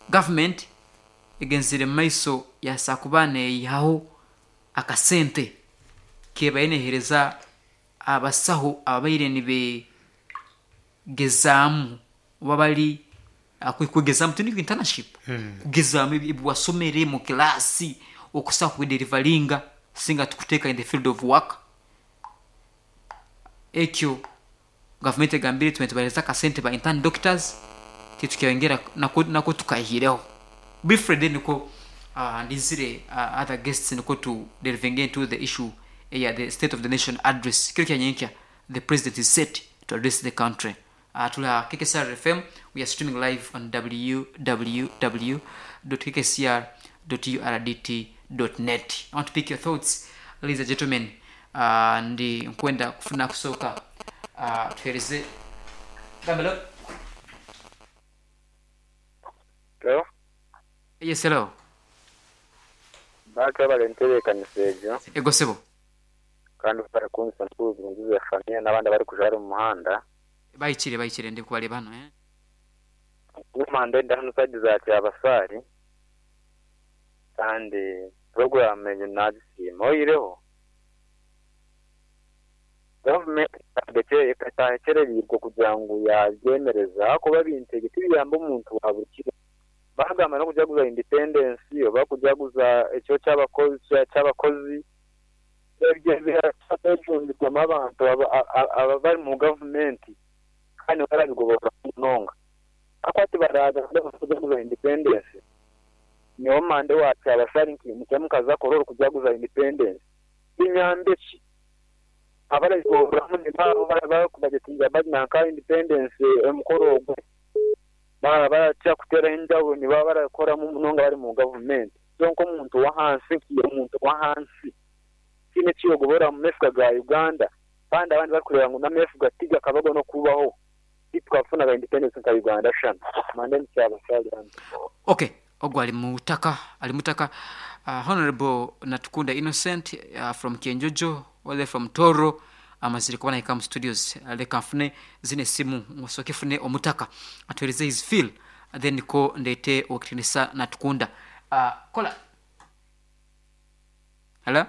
Gavumenti egenzire mu maiso yaasa kuba neeyihaho akasente kebaire neeheereza abasaho ababaire nibegezaamu oba bari kwegezaamu tindi internship kugezaamu ebi wasomere mu kilaasi okusa kubiderivaringa singa tukuteeka in the field of work. Ekyo gavumenti egambire tubaire nitubaheereza akasente ba intern doctors titukyayongyera nako nako tukayihireho. Briefly then nikwo ndizire other guests nikwo tu delvinge into the issue eya the state of the nation address. Kiro kya nyenkya the president is set to address the country. Turi aha KKCR FM, we are streaming live on www dot kkcr dot urdt dot net. I want to pick your thoughts ladies and gentlemen. Ndi nkwenda kufuna kusooka tuheereze Gamba hello. Hello. Yes hello. Baaka webale entebekanisa egyo. Ego sebo. Kandi webale kunzisa Mukulu Birungi Zephania nabandi abarikujwara omu muhanda. Bahikire bahikire ndi kubareeba hanu eh. Guma ndenda hanu side za Kyabasaari kandi program egyo nagisiima oihireho Gavumenti ekyahekyereriirwe kugira ngu yabyemereza ahakuba ebintu ebyo tibiyamba omuntu wa burikiro. Bagamba n'okujaguza independence oba kujaguza ekiro ky'abakozi ebyo byejumbirwamu abantu abari mu gavumenti kandi nibo barabigoboreramu munonga. Ahakuba tibaragambe ngu kujaguza independence nyowe mande wa Kyabasari nkiimukya mukaza Kololo kujaguza independence binyambe ki? Abarabigoboreramu nibo abo abarikubajetinga nanka independence omukoro ogwo. Baaba barakira kuteeraho enjawulo nibaba barakoramu munonga bari mu gavumenti. So nk'omuntu w'ahansi nkiiha omuntu w'ahansi tihaine eki yogobora omu mefuga ga Uganda kandi abandi barikureeba ngu n'amefuga tigakabago n'okubaho titukafunaga independence nka Uganda shana. Mande ndi Kyabasaali hanu. Ok ogwo ali mutaka ali mutaka Honourable Natukunda Innocent from Kyenjojo all the way from Tooro amazire kuba nahika omu studios leka nfune zino esimu nsooke fune omutaka atuhereze his feel then nikwo ndeete owekitinisa Natukunda. Kola. Hello.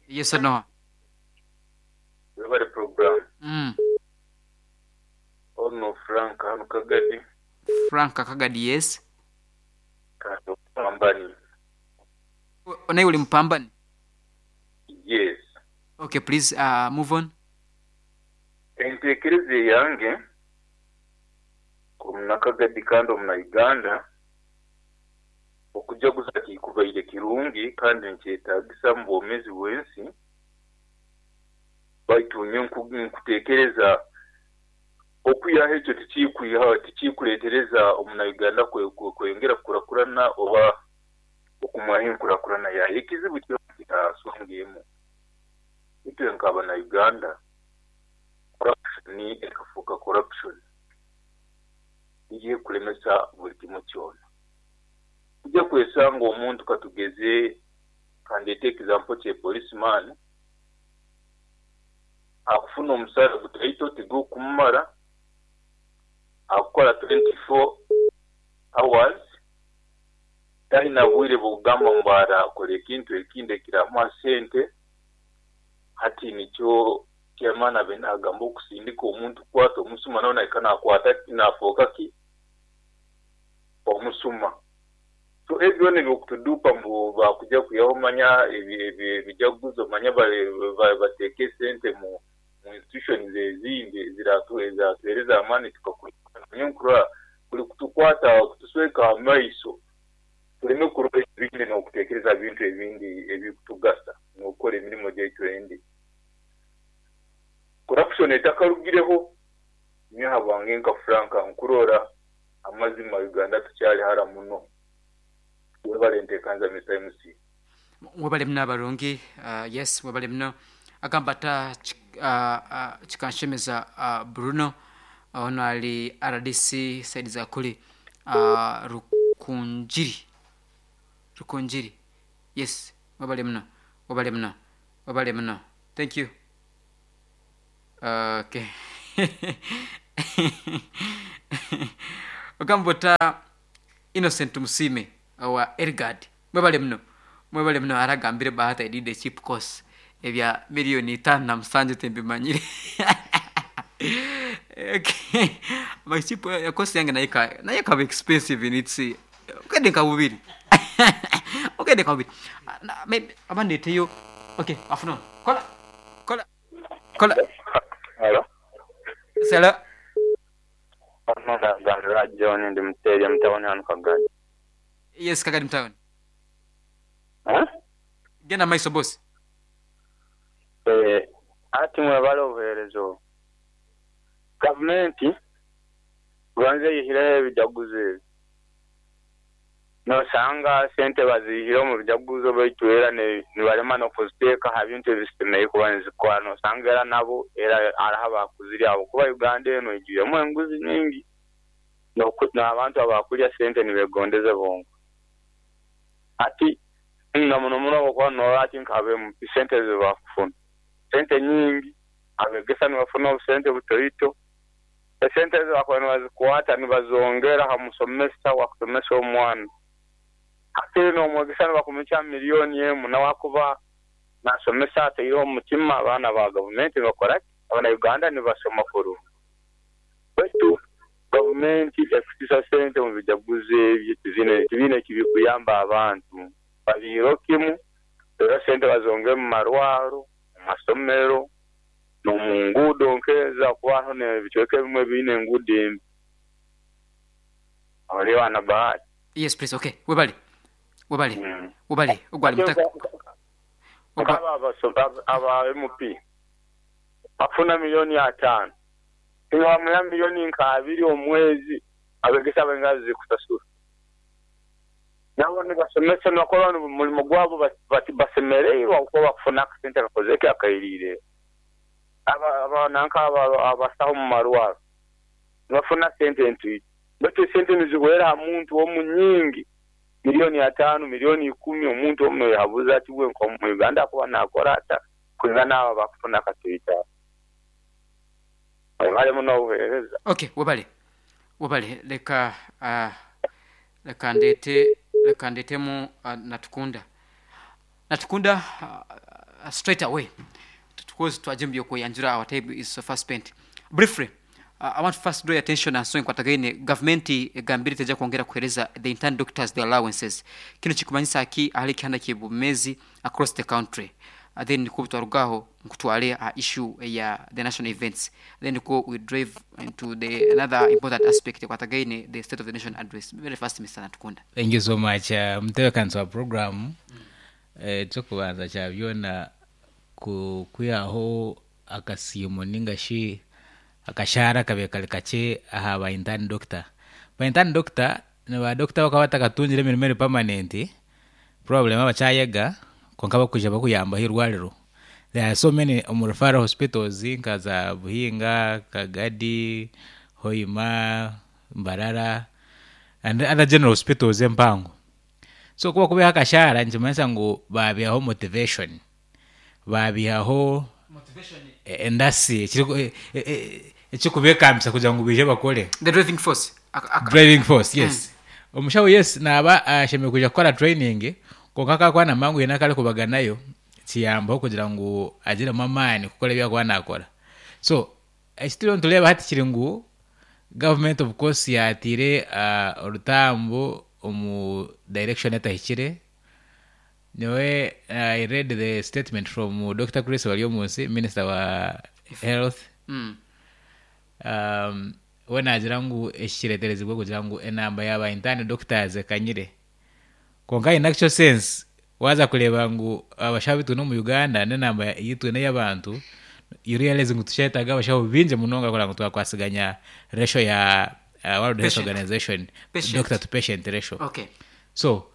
Yes sir Noah. Webale program. Ono Frank hanu Kagadi. Frank Kagadi yes. Kandi omupambani. Naiwe oli mupambani? Yes. Ok please move on. Entekereza eyange nk'omunakagadi kandi omuna Uganda, okujaguza tikubaire kirungi kandi nikyetagisa omu bwomezi bw'ensi, baitu nyowe nkutekereza okwihaho ekyo tikikuletereza omuna Uganda kweyongera kukurakurana oba okumwaho enkurakurana yayo. Ekizibu kyona kiri aha nsonga emu, itwe nk'abana Uganda corruption ekafuuka corruption niyo ekulemesa buli kimu kyona. Oija kwesanga omuntu katugeze kandeete example kye police man akufuna omusaara gutaito tigukumumara, akukora 24 hours talina bwire bwokugamba mbu arakora ekintu ekindi ekiramuha sente. Hati nikyo chairman abaire nagamba okusindika omuntu kukwata omusuma nawe nahika nakwata ki nafoka ki omusuma. So ebyo byona ebyokutuduupa mbu bakuja kwihaho manya ebijaguzo manya bateeke esente mu institutions ezindi eziratuhereza amaani tukakurana. Nyowe nkurora kuri kutukwata kutusweka amaiso tuleme kurora ebindi nokutekereza aha bintu ebindi ebirikutugasa nokukora emirimo gyaitu endi. Corruption etakarugireho nyowe ahabwange nka Frank nkurora amazima Uganda tukyali hara muno. Webale entekanza Mister MC. Webale muno abarungi yes webale muno agamba ata kikanshemeza Bruno ono ari rdc side za kuri Rukungiri Rukungiri yes webale muno webale muno webale muno thank you okay ogamba ota. Innocent Tumusiime owa Elgard mwebale muno mwebale muno aragambire Bahati I did a cheap course ebya million 57 timbimanyire. Okay. My cheap course yange nayo nayo ekaba expensive in its obukadde nka bubiri obukadde nka bubiri. Maybe aba ndeeteyo okay afternoon kola kola kola. Hello. Hello. Ono Ntaganira John ndi muteria mu town hano Kagadi. Yes Kagadi mu town. Eh? Genda maiso boss. Eh, ati mwebale obuhereza obu. Gavumenti gonza eyihireho ebijaguzo ebi. Nosanga sente bazihire omu bijaguzo baitu era nibarema nokuziteeka aha bintu ebizisemereire kuba nizikora. Nosanga era nabo era hariho abakuzirya ahabwokuba Uganda enu eijwiremu enguzi nyingi n'abantu abakurya sente nibegondeza bonka. Hati na muno muno obwokuba norora hati nka aba MP sente ezibakufuna sente nyingi, abegesa nibafuna obusente butoito. Esente ezo bakuba nibazikwata nibazongera aha musomesa owakusomesa omwana. Hakiri n'omwegesa nibakumukya milioni emu nawe akuba nasomesa ataireho omutima abaana ba gavumenti nibakora ki? Abana Uganda nibasoma kurungi. Baitu gavumenti ekusisa sente omu bijaguzo ebyo tibiine ekibikuyamba abantu. Babiireho kimu reero sente bazongere omu marwaro, omu masomero. N'omu nguudo nk'ezo ahakuba hariho n'ebicweka ebimwe ebiine enguudo embi. Oreeba na Bahati. Yes please okay webale webale webale ogwo ali mutaka Nka abo aba MP bafuna milioni ataano iwe bamuha milioni nka abiri omu mwezi abegesa baingahi abazikusasura? Nabo nibasomesa nibakora omurimo gwabo basemereirwe ahabw'okuba bakufuna akasente akakozire ki akairiire. Aba nanka abasaho omu marwaro nibafuna sente ntwito baitu esente nizihwera aha muntu omu nyingi milioni ataano, milioni ikumi omuntu omu noyehabuza ati bwe nka omu Uganda akuba nakora ata kwingana abo abakufuna akatoito ako. Webale muno obuhereza. Ok webale webale leka leka ndeete leka ndeetemu Natukunda Natukunda straight away because twagya omu by'okweyanjura our time is so far spent briefly I want to first draw your attention aha nsonga ekwatagaine gavumenti egambire teija kwongera kuhereza the intern doctors their allowances kinu kikumanyisa ki ahari ekihanda ky'obwomezi across the country then nikwo twaruga aho nkutware aha issue eya the national events then nikwo we drive into the another important aspect ekwatagaine the state of the nation address very fast Mister Natukunda. Thank you so much omutebekanisa wa program. Ekyokubanza kya byona ku kwihaho akasiimo ninga shi akashaara akabaire kari kakye aha ba intern doctor. Ba intern doctor ni ba doctor abakuba batakatungire emirimo eri permanent probably nibaba bakyayega kwonka bakwija bakuyambaho eirwariro. There are so many omu referral hospitals nka za Buhinga, Kagadi, Hoima, Mbarara and other general hospitals empango. So ku bakubiha akashaara nikimanyisa ngu baabihaho motivation, baabihaho endasi ekirikubeekambisa kugira ngu baije bakore. The driving force. Driving force, yes. Omushaho yes naaba ashemereire kwija kukora training kwonka ku arikuba naamanya ngu haine aku arikubaganayo kiyambaho kugira ngu agiremu amaani kukora ebi arikuba naakora. So eki turiyo nitureeba hati kiri ngu gavumenti of course yaataire orutambu omu direction etahikire. Nyowe I read the statement from Dokita Chris Baryomunsi minister wa health. We naagira ngu eki kireeterezibwe kugira ngu enamba ya ba intern doctors ekanyire. Kwonka in actual sense waaza kureeba ngu abashaho abu twine omu Uganda n'enamba ei twine ey'abantu, you realize ngu tukyetaaga abashaho baingi munonga kureba ngu twakwasiganya ratio ya World Health Patient. Organization Patient. doctor to patient ratio. Okay. So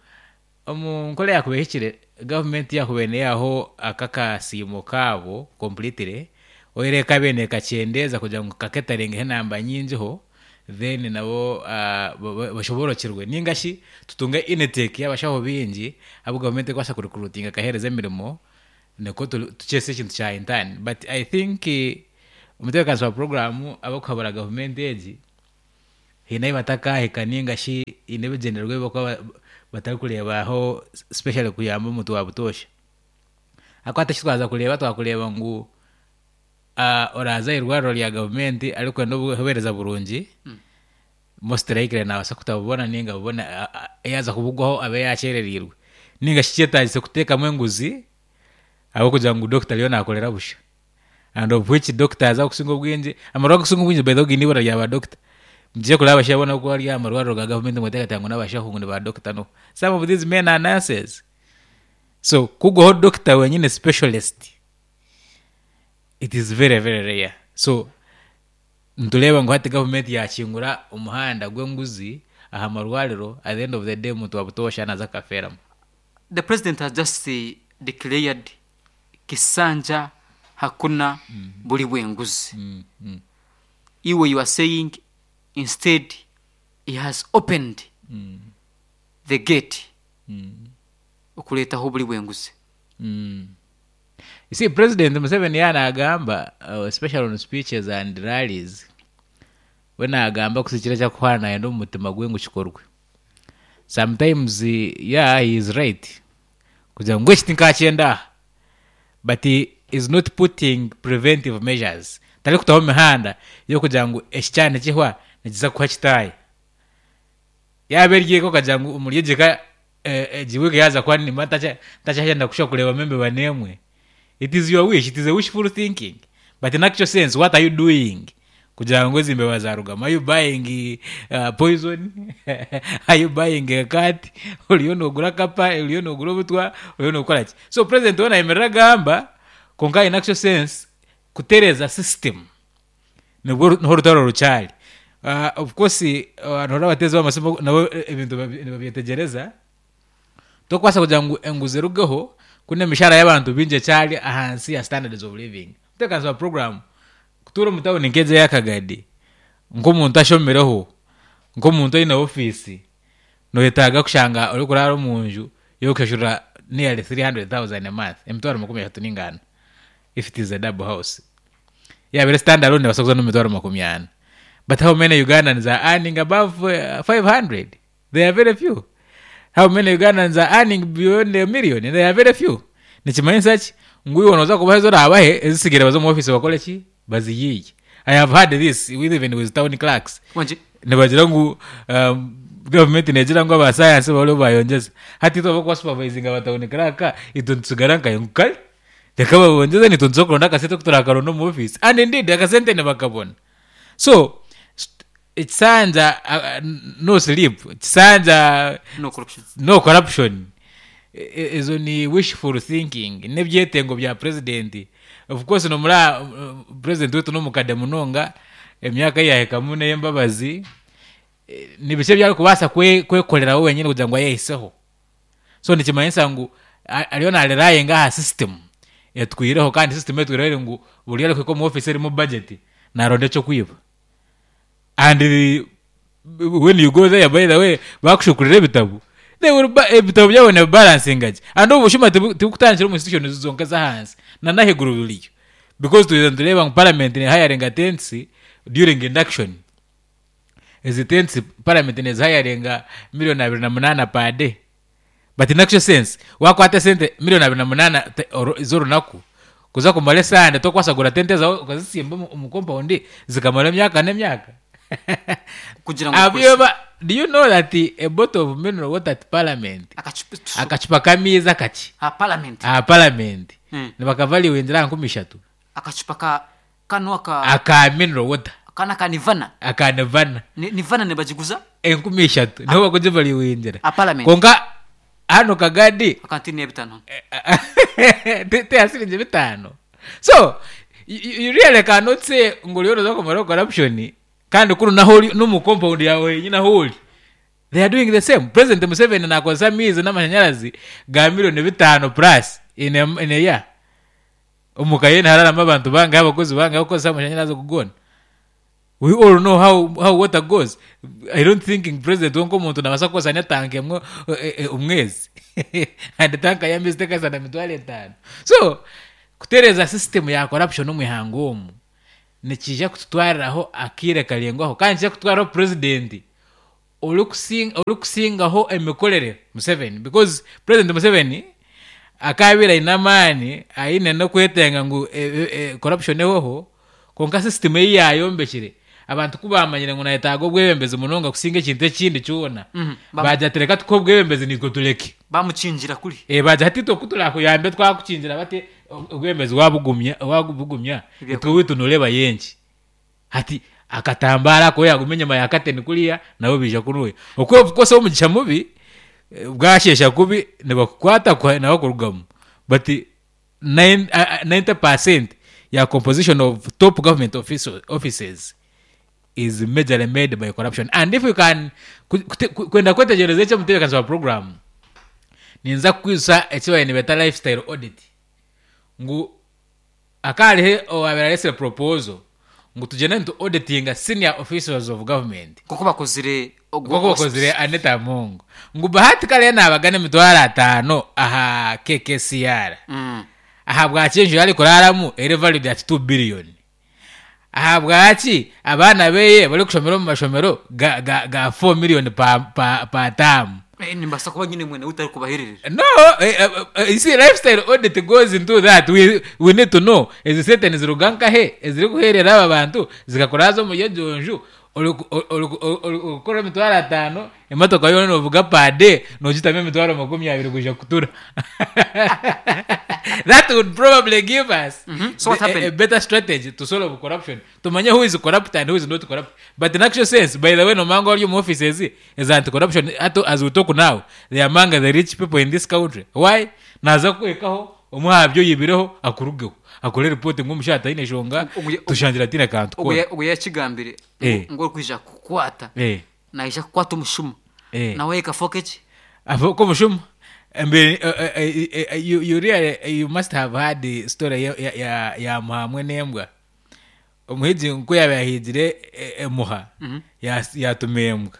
omu nkora yaakuba ehikire, gavumenti yaakubaire neeyaho aka akasiimo kaabo completely, oyihireho ekaabaire neekakyendeeza kugira ngu kaketaringeho enamba nyingiho, then nabo bashoboorokyerwe. Nainga shi tutunge intake y'abashaho baingi abu gavumenti erikubaasa kurecruitinga ekaheereza emirimo, nikwo tukyese ekintu kya intern. But I think omutebeekanisa wa puroguraamu abarikuhabura gavumenti egi, Haine ahi batakaahika nainga shi haine ebigyendererwa ebi barikuba batarikureebaho especially kuyamba omuntu wa butoosha. Ahakuba hati eki twaza kureeba twakureeba ngu oraaza aha irwariro rya gavumenti arikwenda obuheereza burungi, most likely naabaasa kutabubona nainga abubone yaaza kubugwaho abe yaakyerereirwe. Nainga shi kyetaagise kuteekamu enguzi ahabw'okugira ngu dokita ariyo naakorera busha. And of which doctors abakusinga obwingi, amarwariro agarikusinga obwingi by the way gaine eibura rya ba doctor. Mugiye kureba abashaija boona abarikuba bari aha marwariro ga government nimuteekateeka ngu n'abashaho ngu ni ba doctor no. Some of these men are nurses. So kugwaho doctor wenyine specialist, it is very very rare. So nitureeba ngu hati government yakingura omuhanda gw'enguzi aha marwariro, at the end of the day omuntu wa butoosha naaza akafeeramu. The president has just declared Kisanja hakuna buri bwenguzi. Iwe you are saying instead he has opened the gate okureetaho oburi bwenguzi. You see, President Museveni yaaba naagamba especially on speeches and rallies, we naagamba kusikira eki arikuhurira nayenda omu mutima gwe ngu kikorwe. Sometimes yeah he is right kugira ngu eki tinkakyenda aha but he is not putting preventive measures tarikutaho mihanda y'okugira ngu eki kyaba nikihwa nikiza kuha kitaaya. Yaaba eri eka okagira ngu omuri egi eka egi wiiki yaaza kuhwa nimba ntakyayenda kushuba kureebamu embeba n'emwe, it is your wish, it is a wishful thinking but in actual sense what are you doing kugira ngu ezi mbeba zaarugamu? Are you buying poison? Are you buying a cat? Oriyo noogura akapa? Oriyo noogura obutwa? Oriyo nookora ki? So president we naayemerera agamba kwonka in actual sense kutereeza system nibwo niho orutaro rukyari. Of course noreeba abateezi b'amasimu nabo ebintu nibabyetegyereza, tokubaasa kugira ngu enguzi erugeho kunu emishahara y'abantu baingi ekyari ahansi ya standards of living. Omutebeekanisa wa puroguraamu kutuura omu tawuni nk'egi eya Kagadi nk'omuntu ashomireho, nk'omuntu oine ofiisi, noyetaaga kushanga orikuraara omu nju y'okushashura nearly 300,000 a month, emitwaro makumi ashatu ninga ana if it is a double house. Yaaba eri stand alone neebaasa kuza n'omu mitwaro makumi ana. But how many Ugandans are earning above 500? They are very few. How many Ugandans are earning beyond a million? They are very few. Nikimanyisa ki? Ngu iwe nooza kubaha ezi oraabahe, ezitsigaire baze omu ofiisi bakore ki? Bazihiige. I have heard this with even with town clerks. Wangi? Nibagira ngu um, gavumenti neegira ngu aba science bariho bayongyeza. Hati itwe abarikuba supervisinga ba town clerk, itwe nitutsigara nkahe? Ngu kare, reka babongyeze naitwe nituza kuronda akasente oku turakaronda omu ofiisi. And indeed akasente nibakabona. So, ekisanja no sleep, ekisanja No corruption. no corruption, ezo ni wishful thinking, n'ebyetengo bya president. Of course nomuraba president waitu n'omukade munonga, emyaka ei yaahikamu n'ey'embabazi, ni biki ebi arikubaasa kwekorera we wenyini kugira ngu ayehiseho. So nikimanyisa ngu ariyo na relyinga aha system etwireho kandi system etwireho eri ngu buri arikuhika omu office erimu budget naronda eky'okwiba. And when you go there by the way bakushukurira ebitabo they will ba ebitabo byabo nibibalansinga gye and obu bushuma tibukutandikira omu institutions zonka ez'ahansi na n'ahaiguru buriyo because twija nitureeba ngu parliament ne hiringa tents during induction. Ezi tents parliament nezihayaringa million 28 per day but in actual sense wakwata esente million 28 z'orunaku kuza kumara esande tokubaasa kugura tente ezawe okazitsimba omu compound zikamara emyaka n'emyaka? Kugira ngu Have you ever, do you know that a bottle of mineral water at parliament Akacupa akacupa k'amaizi akakye aha parliament. aha parliament nibakavaluingira aha 3000? Akacupa ka kanu aka. Aka mineral water. Kanu aka Nivana. Aka Nivana. Nivana nibagiguza? 3000 niho barikugivaluingira. Aha parliament. Kwonka hanu Kagadi. Aka nti n'ebitaano. Ti aha siringi bitaano. So, you really cannot say ngu oriyo nooza kumaraho corruption kandi kunu nahu ori n'omu compound yaawe henyini ahu ori. They are doing the same. President Museveni naakozesa amaizi n'amashanyarazi ga million bitaano plus in a, in a year. Omu ka ye nihararamu abantu bangahi, abakozi bangahi abarikukozesa amashanyarazi ago goona? We all know how, how water goes. I don't think ngu president we nk'omuntu naabaasa kukozesa n'etanka emwe omwezi and tanka y'amaizi tekahitsya na mitwaro etaano. So, kutereeza system ya corruption omu ihanga omu. Nikiija kututwariraho akaire karaingwaho kandi nikiija kutwariraho purezidenti orikusingaho emikorere Museveni because purezidenti Museveni akaabaire aine amaani aine n'okwetenga ngu corruption ehweho kwonka system ei yaayombekire abantu ku baamanyire ngu naayetaaga obwebembezi munonga kusinga ekintu ekindi kyona baagira bati reka tukuhe obwebembezi naitwe tureke. Baamukingira kuri. Baagira bati itwe ku turaakuyambe twakukingira bati obwebembezi waabugumya waabugumya itwe owaitu nooreeba y'enki? Hati akatambaara ako yaaguma enyima ya kateni kuriya nabo baija kunuya. Okwo of course omugisha mubi bwasheesha kubi nibakukwata kuha nawe kurugamu but 90% ya composition of top government offices is majorly made by corruption and if we can kwenda kwetegyereza eki omutebeekanisa wa puroguraamu ninza kukwijutsya eki baabaire nibeeta lifestyle audit ngu Hakaba hariho owaabaire areetsire proposal ngu tugyende nitu auditinga senior officials of government. Nk'oku bakozire ogwo Nk'oku bakozire Anita Among. Ngu Bahati kare naabagana emitwaro ataano aha KKCR. Ahabwaki enju ei arikuraaramu eri valued at two billion? Ahabwaki abaana beye barikushomera omu mashomero ga, ga, ga four million per, per, per term? Eh, nimbaasa kuba nyine mwene witu arikubahererera. No, you see, lifestyle audit goes into that. We, we need to know ezi sente niziruga nkahe ezirikuherera aba bantu zikakuraaza omuri egyo nju orikukora emitwaro ataano emotoka yoona novuga per day nogitamu emitwaro 20 kwija kutura. That would probably give us So what a happened? better strategy to solve corruption. Tumanye who is corrupt and who is not corrupt. But in actual sense, by the way, nomanya ngu abari omu offices eza anti corruption hati as we talk now, they are among the rich people in this country. Why? Naaza kukuhikaho omwe aha bi oyibireho akurugeho akore report ngu omushaija taine nshonga tushangire ataine kantu koona. Ogu yakigambire ngu orikwija kukukwata naija kukwata omushuma nawe ekafooka eki? Afooke omushuma? You really you must have heard story ya Muha hamwe n'embwa. Omuhigi ku yaabaire ahigire emuha, yaatuma embwa.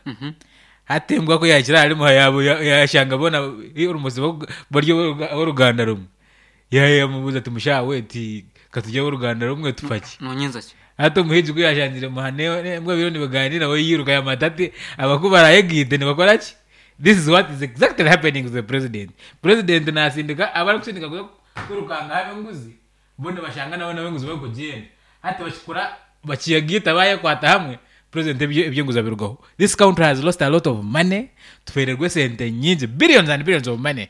Hati embwa ku yaahikire ahari muha yaashanga boona almost bari ab'oruganda rumwe. Yaamubuuza ati mushaija we ti ka turi ab'oruganda rumwe tufa ki? Noonyenza ki? Hati omuhigi ku yaashangire muha n'embwa biriyo nibigaaniira we yairuka yaamanya ati aba ku baraayegaite nibakora ki? This is what is exactly happening to the president. President naasindika abu arikusindika kuza kwirukangaho ab'enguzi Bo nibashanga nabo n'abenguzi barikugyenda. Hati bakikora bakiyagaita bayekwata hamwe, president eby'enguzi abirugaho. This country has lost a lot of money, tufeererwe esente nyingi, billions and billions of money,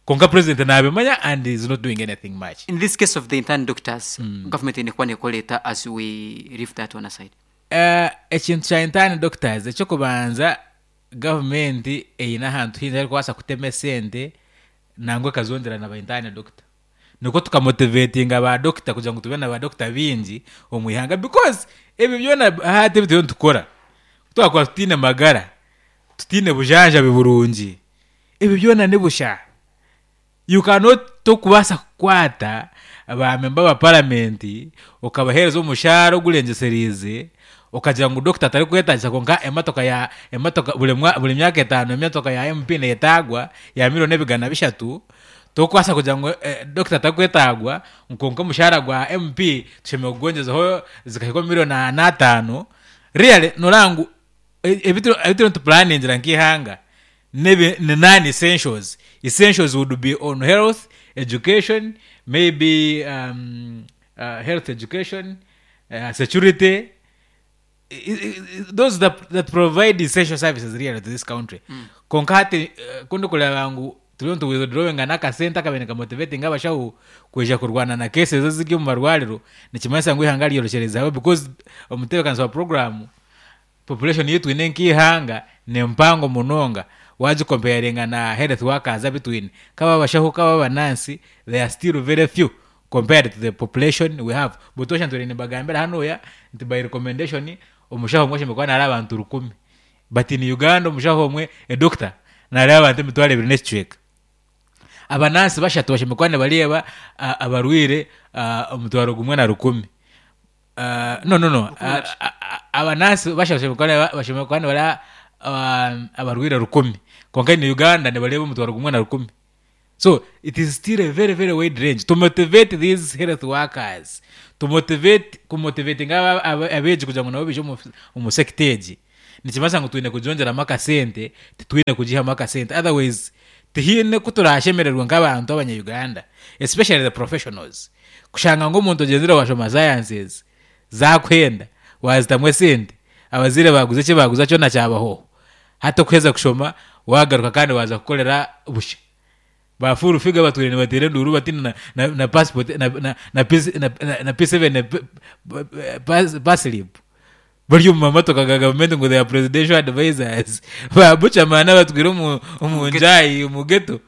kwonka president nabimanya and is not doing anything much. In this case of the intern doctors, government eine kuba nekora eta as we leave that one aside? Ekintu kya intern doctors, eky'okubanza gavumenti eine ahantu haingi ahu erikubaasa kutema esente nangwa ekazongyera na ba intern doctor. Nikwo tukamotivatinga ba dokita kugira ngu tube na ba dokita baingi omu ihanga because ebi byona hati ebi turiyo nitukora ku twakuba tutaine magara, tutaine bujanjabi burungi, ebi byona ni busha. You cannot tokubaasa kukwata ba memba ba paramenti okabaheereza omushaara ogurengyesereize okagira ngu dokita tarikwetaagisa kwonka emotoka ya emotoka buri mwa buri myaka etaano emotoka ya MP neetaagwa ya milioni ebigana bishatu, Tokubaasa kugira ngu dokita tarikwetaagwa ngu kwonka omushaara gwa MP tushemereire kugwongyezaho zikahika omu milioni ana ataano, really nooreeba ngu ebi turiyo nitupuraningira nk'eihanga n'ebi ni non essentials. Essentials would be on health, education, maybe health, education, security, those that, that provide essential services really to this country kwonka hati ku ndikureeba ngu turiyo nitu withdrawinga n'akasente akabaire nikamotivatinga abashaho kwija kurwana na cases eziri omu marwariro nikimanyisa ngu eihanga ryorekyereza because omutebeekanisa wa puroguraamu population ei twine nk'eihanga ni mpango munonga waagikomparinga na health workers abu twine kaba abashaho kaba abanansi they are still very few compared to the population we have. Butoosha ntuura nimbagambira hanuya nti by recommendation omushaho omwe ashemereire kuba naareeba abantu rukumi but in Uganda omushaho omwe a doctor naareeba abantu emitwaro ebiri n'ekicweka. Abanansi bashatu bashemereire kuba nibareeba abarwaire omutwaro gumwe na rukumi. No no no abanansi bashatu bashemereire kuba nibareeba abarwaire rukumi kwonka in Uganda nibareeba omutwaro gumwe na rukumi. So it is still a very very wide range to motivate these health workers, to motivate kumotivatinga abeegi kugira ngu nabo baije omu sector egi, nikimanyisa ngu twine kugyongyeramu akasente, titwine kugihamu akasente otherwise tihaine oku turaashemererwe nk'abantu abanya Uganda especially the professionals kushanga ngu omuntu ogyenzire waashoma sciences zaakuhenda waazitamu esente, abazaire baaguza eki baaguza kyona kyabahoho, hati okuheza kushoma waagaruka kandi waaza kukorera busha. Ba full figure batwire nibateera enduuru bati na na na passport na na na P na na P7 paslip bari omu mamotoka ga gavumenti ngu they are presidential advisors. Ba Buchaman abatwire omu omu njaayi omu ghetto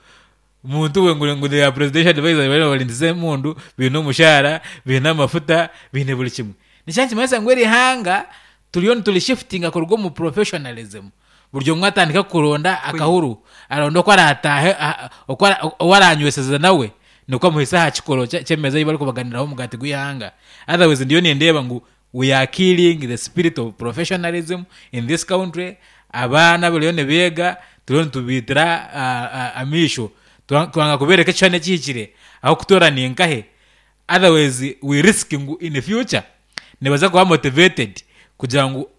muntu we ngu ngu they are presidential advisors bariyo nibarindisa emundu baine omushaara baine amafuta baine buri kimwe. Nikyo nikimanyisa ngu eri ihanga turiyo niturishifutinga kuruga omu professionalism Buri omwe atandika kuronda akahuru, aronda oku araataahe, oku ou araanyweseza nawe, nikwo amuhitsya aha kikoro ky'emeeza ei barikubaganiraho omugaati gw'eihanga. Otherwise ndiyo nindeeba ngu we are killing the spirit of professionalism in this country, abaana bariyo nibeega turiyo nitubaitira amaisho, twanga kubeereka ekishushani ekihikire ahu kutoora ni nkahe, otherwise we risk ngu in future nibaza kuba motivated kugira ngu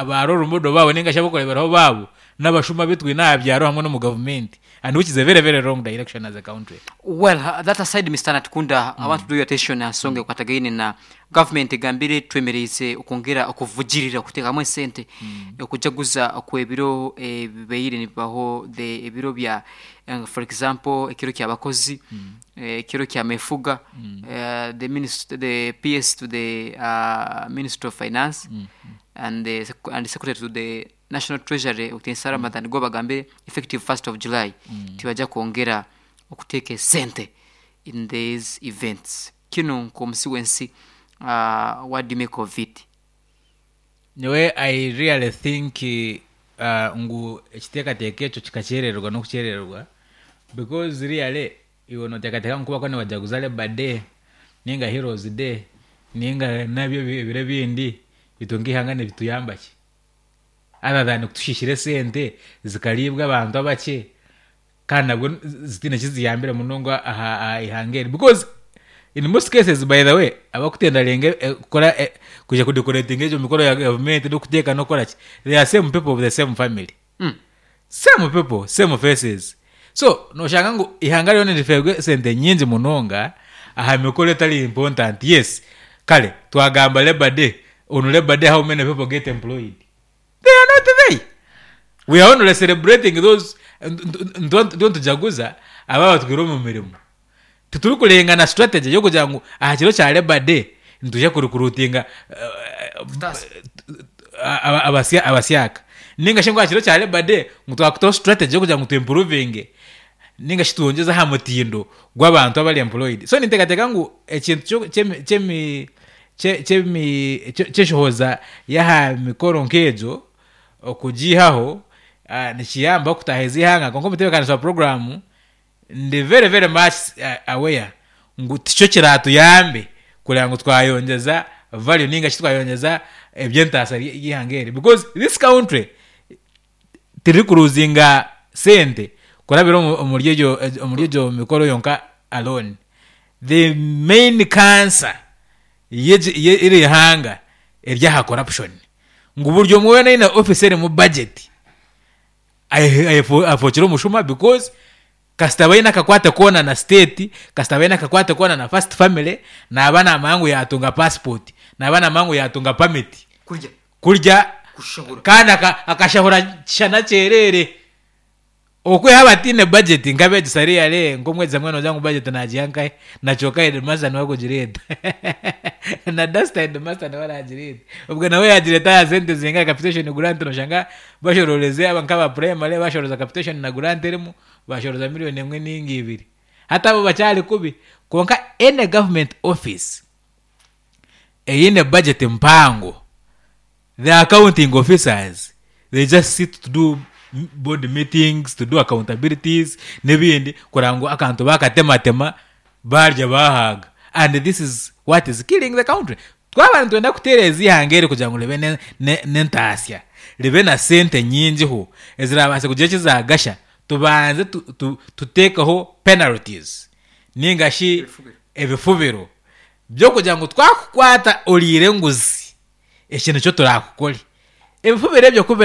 ba role model baabo ninga shi ab'okureeberaho baabo n'abashuma abu twine aha byaro hamwe n'omu gavumenti and which is a very very wrong direction as a country. Well, that aside Mister Natukunda, I want to draw your attention aha nsonga ekwatagaine na government egambire twemereize okwongera okuvugirira okuteekamu esente okujaguza okw'ebiro ebibaire nibibaho the ebiro bya for example ekiro ky'abakozi, ekiro ky'amefuga, the minister the PS to the ministry of finance and the and secretary to the national treasury Otensa Ramathan go bagambire effective 1st of July tibajja kwongera okuteeka esente in these events. Kinu nk'omusi w'ensi what do you make of it? Nyowe I really think ngu ekiteekateeko ekyo kikakyerererwa n'okukyerererwa because really Iwe noteekateeka ngu ku barikuba nibajaguza Labour Day ninga Heroes Day ninga nabyo ebiro ebindi itwe nk'eihanga nibituyamba ki? Other than kutushiishira esente zikariibwa abantu abakye kandi nabwo zitaine ki ziyambire munonga aha ihanga eri because in most cases by the way abakutendaringa kukora kwija kudecoratinga egyo mikoro ya gavumenti n'okuteeka n'okukora ki they are same people of the same family. Same people, same faces. So noshanga ngu eihanga ryona nirifeerwa esente nyingi munonga aha mikoro etari important. Yes, kare twagamba labour day, on labour day how many people get employed? They are not there. We are only celebrating those nituba nitujaguza abo abatwire omu mirimo. Titurikurenga na strategy y'okugira ngu aha kiro kya Labour Day nitwija kurecruitinga abasyaka ninga shi ngu aha kiro kya Labour Day ngu twakutaho strategy y'okugira ngu tu improvinge ninga shi twongyeze aha mutindo gw'abantu abari employed. So ninteekateeka ngu ekintu ky'enshohoza y'aha mikoro nk'egyo okugiihaho nikiyamba kutaahiza eihanga kwonka omutebeekanisa wa puroguraamu Ndi very very much aware ngu tikyo kiratuyambe kureba ngu twayongyeza value ninga shi twayongyeza eby'entaasa y'eihanga eri because this country terikuruzinga sente kurabira omuri egyo omuri egyo mikoro yonka alone. The main cancer y'eri ihanga eri aha corruption ngu buri omwe weena aine office erimu budget afookire omushuma because kasita aba aine akakwate koona na state, kasita aba aine akakwate koona na first family, naaba naamanya ngu yaatunga passport, naaba naamanya ngu yaatunga permit Kurya. kurya Kushahura. kandi akashahura kishana kyereere. Okwihaho abataine budget nk'abeegyesa really nk'omwegyesa mbwenu noogira ngu budget naagiiha nkahi? Na kyonka headmaster niwe arikugireeta na duster headmaster niwe araagireeta. Obwe nawe yaagireeta aha sente zingahi capitation grant noshanga bashorooreze aba nk'aba primary bashorooza capitation na grant erimu bashorooza million emwe ninga ibiri. Hati abo bakyari kubi kwonka any government office eine budget mpango The accounting officers they just sit to do board meetings, to do accountabilities n'ebindi kureba ngu akantu bakatematema barya bahaaga and this is what is killing the country. Twaba nitwenda kutereeza eihanga eri kugira ngu ribe n'entaasya, ribe na sente nyingiho ezirabaase kugira eki zaagasha. Tubanze tuteekeho penalties nainga shi ebifubiro by'okugira ngu twakukwata oriire enguzi eki nikyo turaakukore. Ebifubiro ebyo ku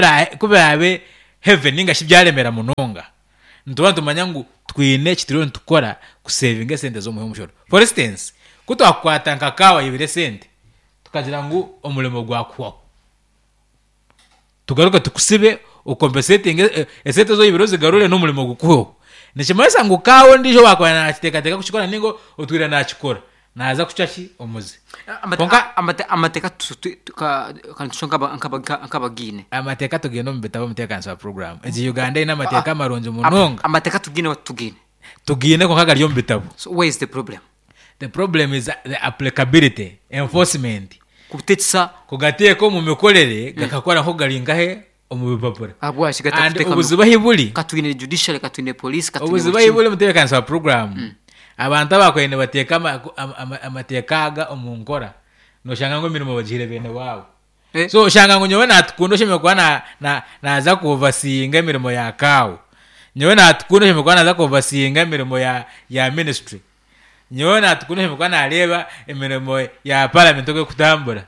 biraabe heavy nainga shi byaremera munonga, nituba nitumanya ngu twine eki turiyo nitukora kusevinga esente z'omuhi w'omushoro. For instance, ku twakukwata nka kaawa aibire esente, tukagira ngu omurimo gwakuhwaho. Tugaruke tukusibe okompensetinge esente ezi oibire ozigarure n'omurimo gukuhweho. Nikimanyisa ngu kaawa ondiijo owaakuba naakiteekateeka kukikora nainga otwire naakikora, naaza kucwa ki? Omuze. Kwonka. Amateeka ka tucwe nk'abagaine. Amateeka tugaine omu bitabo omuteekanisa wa puroguraamu. Egi Uganda eine amateeka marungi munonga. Amateeka tugaine oba titugaine? Tugaine kwonka gari omu bitabo. So where is the problem? The problem is the applicability, enforcement. Kubutekyesa. Kugateeka omu mikorere gakakora nk'oku gari nkahe omu bipapura. Ahabwaki And gatakuteeka omu obuzibu ahi buri, Ka twine judiciary, ka twine police, ka twine obuzibu buri ahi kimwe. buri omutebeekanisa wa puroguraamu, abantu abaakubaire nibateeka ama- ama- ama- amateeka aga omu nkora, nooshanga ngu emirimo bagihaire beene waabo. Eh. So oshanga ngu nyowe natukunda oshemereire kuba na- na- naaza kuovasinga emirimo ya kaawo. Nyowe natukunda oshemereire kuba naaza kuovasinga emirimo ya ya ministry. Nyowe natukunda oshemereire kuba naareeba emirimo ya parliament oku erikutambura.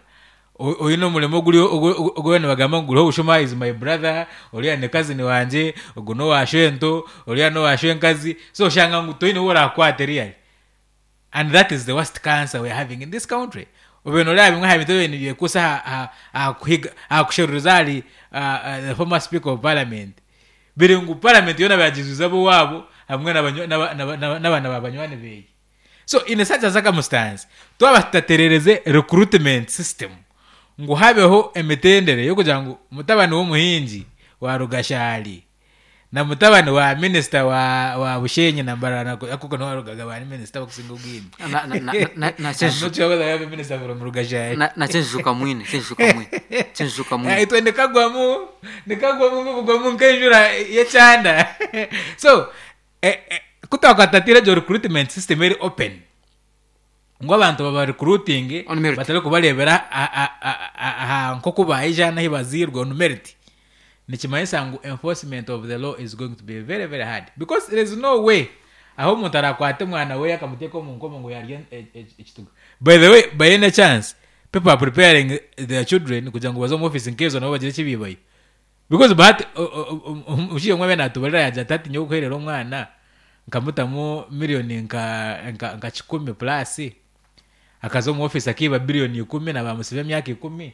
O- Oine omurimo oguri ogu ogu nibagamba ngu guriho obushuma is my brother, oriya ni cousin wangye, ogu n'owa shwento, oriya n'owa shwenkazi, so oshanga ngu toine ou oraakwate really. And that is the worst cancer we are having in this country. Obaire noreeba bimwe aha bintu ebibaire nibyekuusa aha aha aha kuhiga aha kusheruriza ahari the former speaker of parliament biri ngu parliament yoona bagiijwize ab'owaabo hamwe n'abaana ba banywani beye. So in such a circumstance twaba tutatererize recruitment system ngu habeho emitendera y'okugira ngu mutabani w'omuhingi wa Rugashari na mutabani wa minisita wa wa Bushenyi na Mbarara na akuko niho harugaga ba minisita abakusinga obwingi. Na- na- na- na- na- I'm not sure whether we have a minister from Rugashari. Na- na Kyenjuka mwine Kyenjuka mwine Kyenjuka mwine Itwe nikagwamu nikagwamu bugwamu nk'enjura y'ekyanda so eh, eh, ku twakwatatire egyo recruitment system eri open ngu abantu baba recruiting On merit. batari kubareebera aha nk'oku baija n'ahi bazairwe on merit nikimanyisa ngu enforcement of the law is going to be very very hard because there is no way ahu omuntu arakwate omwana we akamuteeka omu nkomo ngu yarya ekituga by the way by any chance people are preparing their children kugira ngu baze omu office nk'ezo nabo bagire eki baibayo Because bahati omushaija omwe abaire natubarira yagira ati hati nyowe kuherera omwana nkamutamu million nka nka nka kikumi plus akaza omu office akaiba billion ikumi na bamusiba emyaka ikumi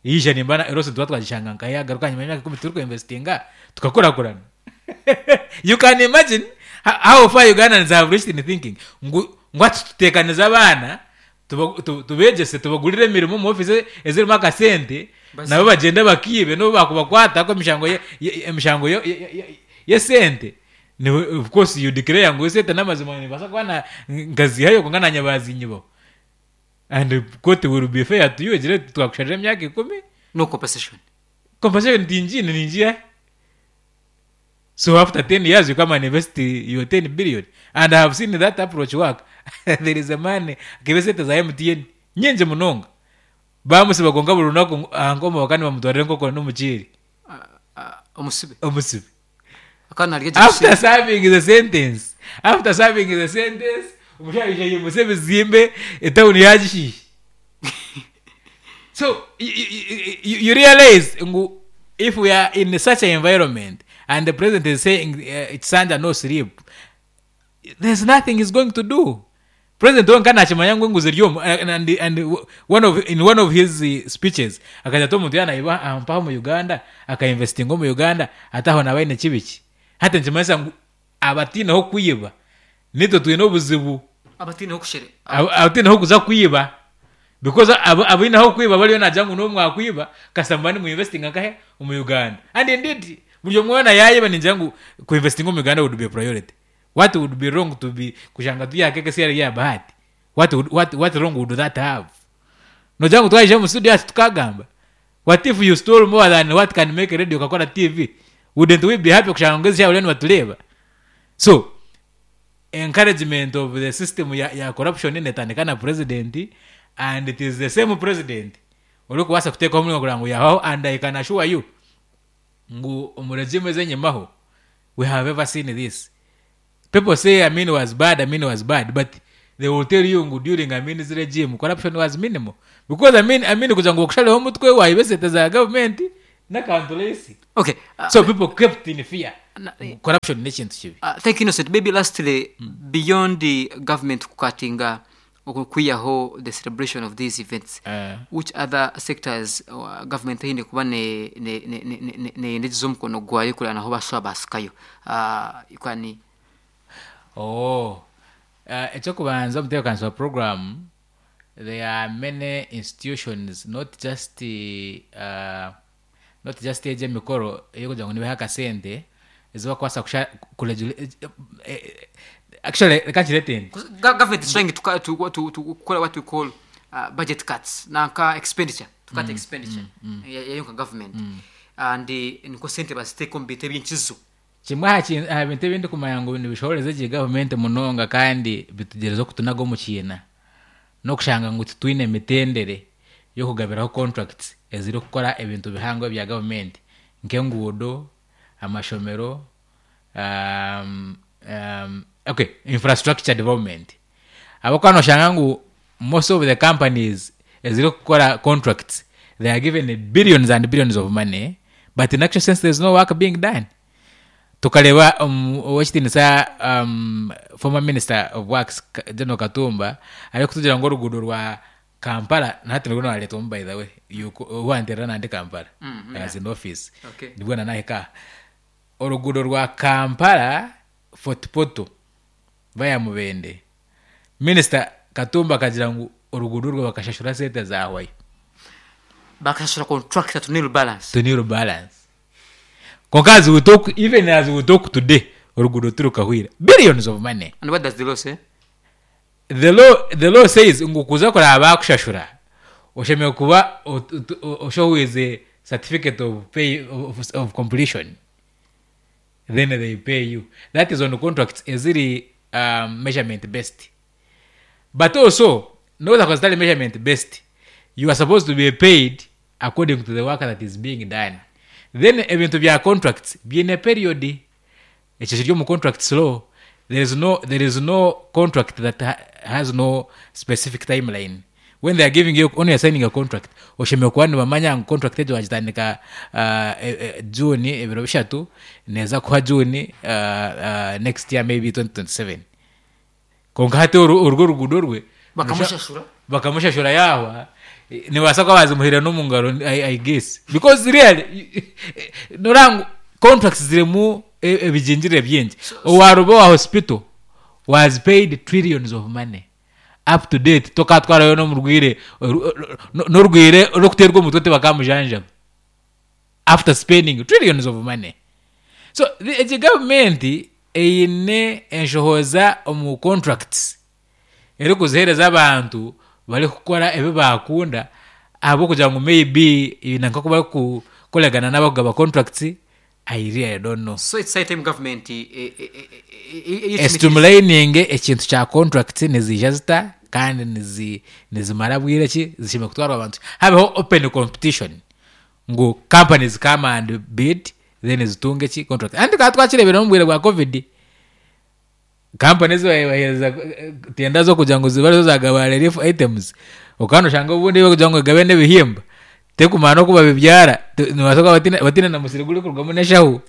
yaija nimba na loss nituba twagishanga nkahi yagaruka ahanyima y'emyaka ikumi turi kuinvestinga tukakurakurana you can imagine how far Ugandans have reached in thinking ngu ngu hati tutekanize abaana Tubeegyese tubagurire emirimo omu ofiisi ezirimu akasente nabo bagyende bakiibe n'obu baakubakwata ahabw'okuba emishango emishango y'esente of course you declare ngu esente n'amazima nimbaasa kuba nkaziihayo kwonka naanye baazinyibaho and court will be fair to you egire eti twakusharira emyaka ikumi. No compensation. Compensation tingiine ningiiha hi? So after 10 years you come and invest your 10 billion and I have seen that approach work there is a man akaiba esente za MTN nyingi munonga bamusiba kwonka buri runaku aha nkomo bakaba nibamutwarira enkoko n'omuceeri Omusibe. omusibe Akaba narya gye after kusiba. serving the sentence after serving the sentence omushaija yaija yaimutsya ebizimbe etawuni yagishiisha So you, you realize ngu if we are in such an environment and the president is saying ekisanja no sleep there's nothing he's going to do president wenka nakimanya ngu enguzi eri omu and, and one of, in one of his speeches akagira ati omuntu yaaba naiba aha mpaha omu uganda akainvestinga omu uganda ati aho naaba aine kibi ki hati nikimanyisa ngu abataineho kwiba naitwe twine obuzibu Abataineho kushere. Abataineho kuza kwiba because abaine ah'okwiba bariyo naagira ngu n'obu mwakwiba kasita muba nimuinvestinga nkahe omu Uganda and indeed buri omwe weena yaayiba ningira ngu kuinvestinga omu Uganda would be a priority what would be wrong to be kushanga turi aha keekesi eri ya Bahati what would what what wrong would that have noogira ngu twaija omu studio hati tukaagamba what if you stole more than what can make radio okakora TV wouldn't we be happy kushanga ngu ezi shaaha bariyo nibatureeba so Encouragement of the system ya ya corruption netandika na president and it is the same president orikubaasa kuteekaho omuringo kureba ngu yahwaho and I can assure you ngu omu regime ez'enyimaho. we have ever seen this. People say Amin was bad, Amin was bad, but they will tell you ngu during Amin's regime corruption was minimal. Because Amin, Amin kugira ngu bakushareho omutwe wayiba esente za government n'akantu rahisi. Okay. So people kept in fear. Na- Corruption n'ekintu kibi. Thank you, Innocent. Maybe lastly, beyond the government kukatinga okwihaho the celebration of these events, which other sectors government eine kuba neyendegyeza omukono gwayo kureba naho bashuba basikayo? Kwani Oh. Eky'okubanza omutebeekanisa wa program, there are many institutions not just not just egi emikoro ey'okugira ngu nibaha akasente ezi bakubaasa kusha kuregula actually reka nkireete nti Government is trying to, cut- to kukora what we call budget cuts nanka expenditure, to cut expenditure yayo nka government, and niko sente baziteeka omu bintu eby'enkizo. Kimwe aha kin- aha bintu ebi ndikumanya ngu nibishohoreza gye gavumenti munonga kandi bitugyereza okutunaga omu kiina n'okushanga ngu titwine mitendere y'okugabiraho contracts ezirikukora ebintu bihango ebya gavumenti nk'enguudo, amashomero, okay, infrastructure development. Ahabw'okuba noshanga ngu most of the companies ezirikukora contracts they are given billions and billions of money, but in actual sense there is no work being done. Tukareeba ow'ekitiinisa former minister of works General Katumba arikutugira ngu oruguudo rwa Kampala na hati nirwo rwareetwamu by the way obu wanteerera nandi Kampala I was in office nibwo nanahika aha. Oruguudo rwa Kampala Fort Portal via Mubende, minisita Katumba akagira ngu oruguudo orwo bakashashura sente zahwayo. Bakashashura contractor to nil balance. To nil balance. Kwonka as we talk, even as we talk today, oruguudo tirukahwire. Billions of money. And what does the law say? The law, the law says ngu kuza kuraba bakushashura, oshemereire kuba oshohwize certificate of pay, of completion. Then they pay you. That is on contracts eziri measurement based. But also, nobu zakuba zitari measurement based, you are supposed to be paid according to the work that is being done. Then ebintu bya contracts biine period. Ekyo kiri omu contracts law. There is no, there is no contract that has no specific timeline. When they are giving you, when you are signing a contract, oshemereire kuba nibamanya ngu contract egyo wagitandika June ebiro bishatu, neeza kuhwa June next year maybe 2027. Kwonka hati oru orwo oruguudo rwe Bakamushashura. Bakamushashura yaahwa, nibabaasa kuba baazimuhaire n'omu ngaro I guess. Because really, noreeba ngu contracts zirimu ebigingirire bingi. Owaaruba owa hospital was paid trillions of money. Up to date tokatwarayo n'omurwaire n'orwaire orikuteerwa omutwe tibakamujanjaba after spending trillions of money. So egi gavumenti eine enshohoza omu contracts erikuziheereza abantu barikukora ebi baakunda ahabw'okugira ngu maybe na nk'oku barikukoregana n'abarikugaba contracts, I really don't know. So it's high time government E streamlining ekintu kya contracts niziija zita kandi nizimara bwire ki, zishemereire kutwarwa bantu ki. Habeho open competition ngu companies come and bid then zitunge ki contract. Hati tukaba twakireebire n'omu bwire bwa covid, kampani ezi baabaheereza tenda z'okugira ngu zibe arizo zaagaba relief items, okaba noshanga obundi barikugira ngu egabe n'ebihimba, terikumanya n'oku babibyara, nibabaasa kuba bataine na musiri gurikurugamu n'eshaho.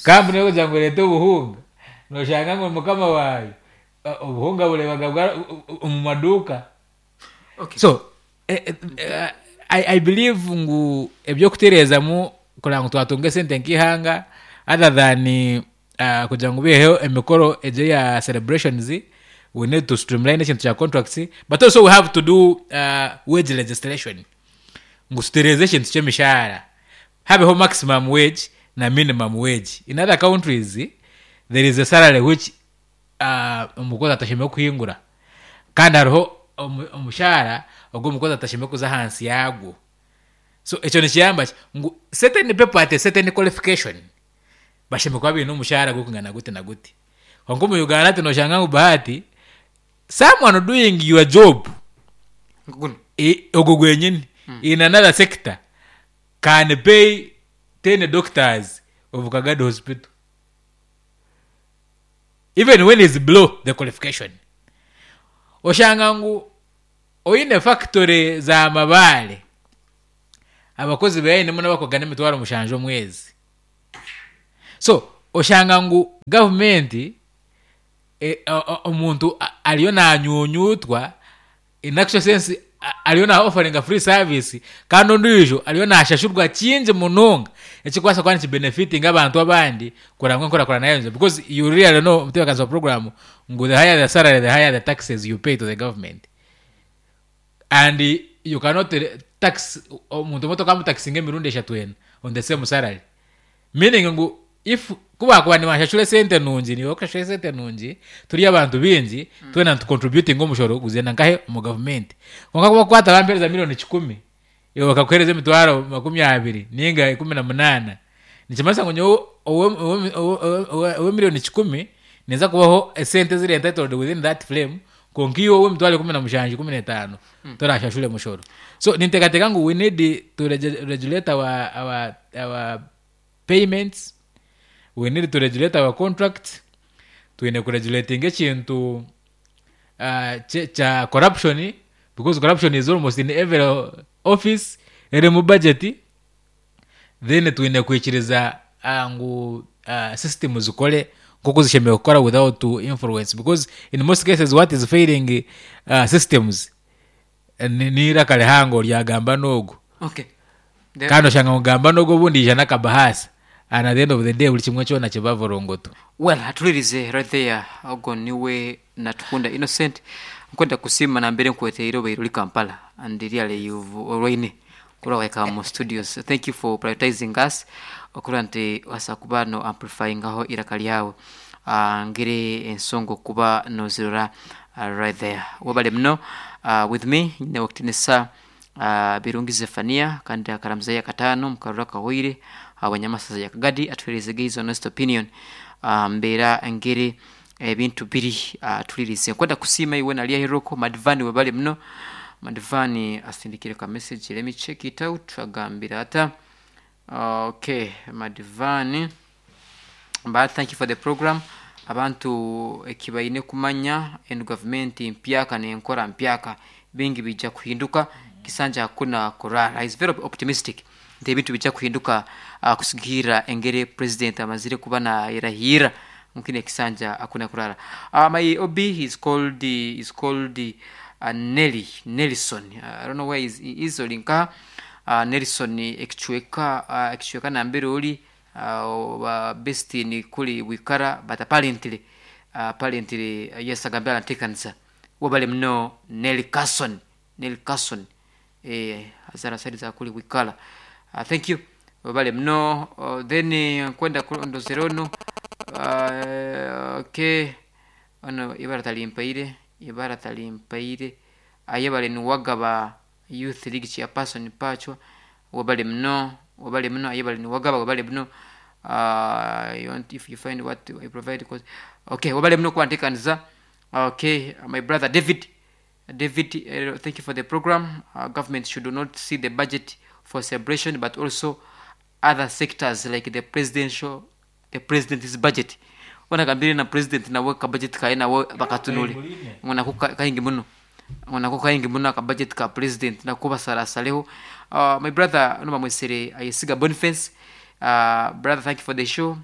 Kampuni erikugira ngu ereete obuhunga, noshanga ngu mukama waayo obuhunga abureebaga omu maduuka. So, I believe ngu eby'okutereezamu kureba ngu twatunga esente nk'eihanga other than kugira ngu baiheho emikoro egi eya celebrations, we need to streamline ekintu kya contracts, but also we have to do wage legislation ngu tutereeze ekintu ky'emishaara, habeho maximum wage na minimum wage. In other countries there is a salary which omukozi atashemereire kuhingura kandi hariho omushaara ogu omukozi atashemereire kuza ahansi yaagwo. So ekyo nikiyamba ki? Ngu certain people at a certain qualification bashemereire kuba baine omushaara gurikwingana guti na guti. Kwonka omu Uganda hati noshanga ngu Bahati, someone doing your job, Guno. Ogwo gwenyini, in another sector can pay ten doctors of Kagadi hospital. Even when is below the qualification. Oshanga ngu oine factory za mabaare, abakozi beye ainemu n'abakugana emitwaro mushanju omwezi. So oshanga ngu gavumenti omuntu ariyo nanyunyutwa in actual sense ariyo na offeringa free service kandi ondiijo ariyo nashashurwa kingi munonga ekirikubaasa kuba niki benefitinga abantu abandi kureba ngu enkurakurana yayongyera because you really know omutebeekanisa wa program ngu the higher the salary the higher the taxes you pay to the government and you cannot tax omuntu omwe tokamutakisinga emirundi eshatu ena on the same salary Meaning ngu if ku baakuba nibanshashura esente nungi niiwe orikushashura esente nungi turi abantu baingi twena nitu contributinga omushoro gugyenda nkahe omu gavumenti kwonka ku bakukwata bampereza miriyoni kikumi iwe bakakuhereza emitwaro makumi abiri ninga ikumi na munaana nikimanyisa ngu nyowe ow'emiriyoni kikumi ninza kubaho esente eziri entitled within that frame kwonka iwe ow'emitwaro ikumi na mushanju ikumi n'etaano torashashure mushoro so ninteekateeka ngu we need to regulate our, our, our payments we need to regulate our contracts twine kuregulatinga ekintu uh, kya corruption because corruption is almost in every office erimu budget Then twine kwikiriza ngu system zikore nk'oku zishemereire kukora without influence because in most cases what is failing systems n'eiraka rihango rya gamba n'ogu. Okay. Kandi oshanga ngu gamba n'ogu obundi yaija n'akabahaasa and at the end of the day buri kimwe kyona kiba vorongoto. Well atulirize right there ogwo niwe Natukunda Innocent nkwenda kusiima nambere nkweteire obaire ori Kampala and really you've orwaine Kurora wahika mu studios thank you for prioritizing us okurora nti wasa kuba no amplifyingaho iraka ryawe uh, ngire ensonga okuba nozirora right there webale muno with me nyine okitinisa Birungi Zephania kandi akaramuzayo akataano mukaruru akahweire habwa Nyamasaza ya Kagadi atuhereze his honest opinion mbeera ngere ebintu biri atulirize nkwenda kusiima iwe nari aheroko Madivani webale muno Madivani asindikire ka message let me check it out agambire ata okay Madivani but thank you for the program abantu ekibaine kumanya enu gavumenti mpyaka nenkora mpyaka bingi bija kuhinduka kisanja hakuna kurara is very optimistic nti ebintu bija kuhinduka kusigikirra engeri president amazire kuba nayerahiirra ngu kinu ekisanja hakuna kurara my OB is called is called Nelly Nelson I don't know where is, he is ori nkaha Nelson ekicweka ekicweka nambere ori oba best ni kuri wikara but apparently apparently yes agambire arantekanisa webale muno Nelly Carson Nelly Carson eh azara side za kuri wikara thank you webale muno then nkwenda ndozere onu okay ono ibara tarimpaire ibara tarimpaire ayebare niwagaba youth league chairperson pachwa webale muno webale muno ayebare niwagaba webale muno you want if you find what I provide cause okay webale muno kubantekaniza okay my brother David David thank you for the program government should not see the budget for celebration but also other sectors like the presidential the president's budget hoona agambire na president nawe ka budget kaye nawe bakatunure ngu nako kaingi muno ngu nako kaingi muno aka budget ka president nako basarasareho my brother onu bamwesere Ayesiga Boniface brother thank you for the show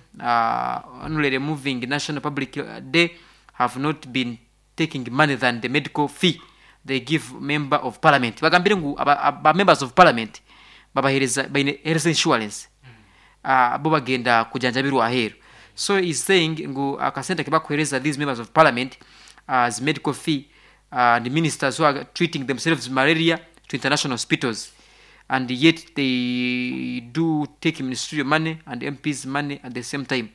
only removing national public day have not been taking money than the medical fee they give member of parliament bagambire ngu aba members of parliament babahereza baine health insurance bo bagenda kujanjabirwa aheru so he's saying ngu akasente akibakuhereza these members of parliament as medical fee and ministers who are treating themselves malaria to international hospitals and yet they do take ministerial money and MPs money at the same time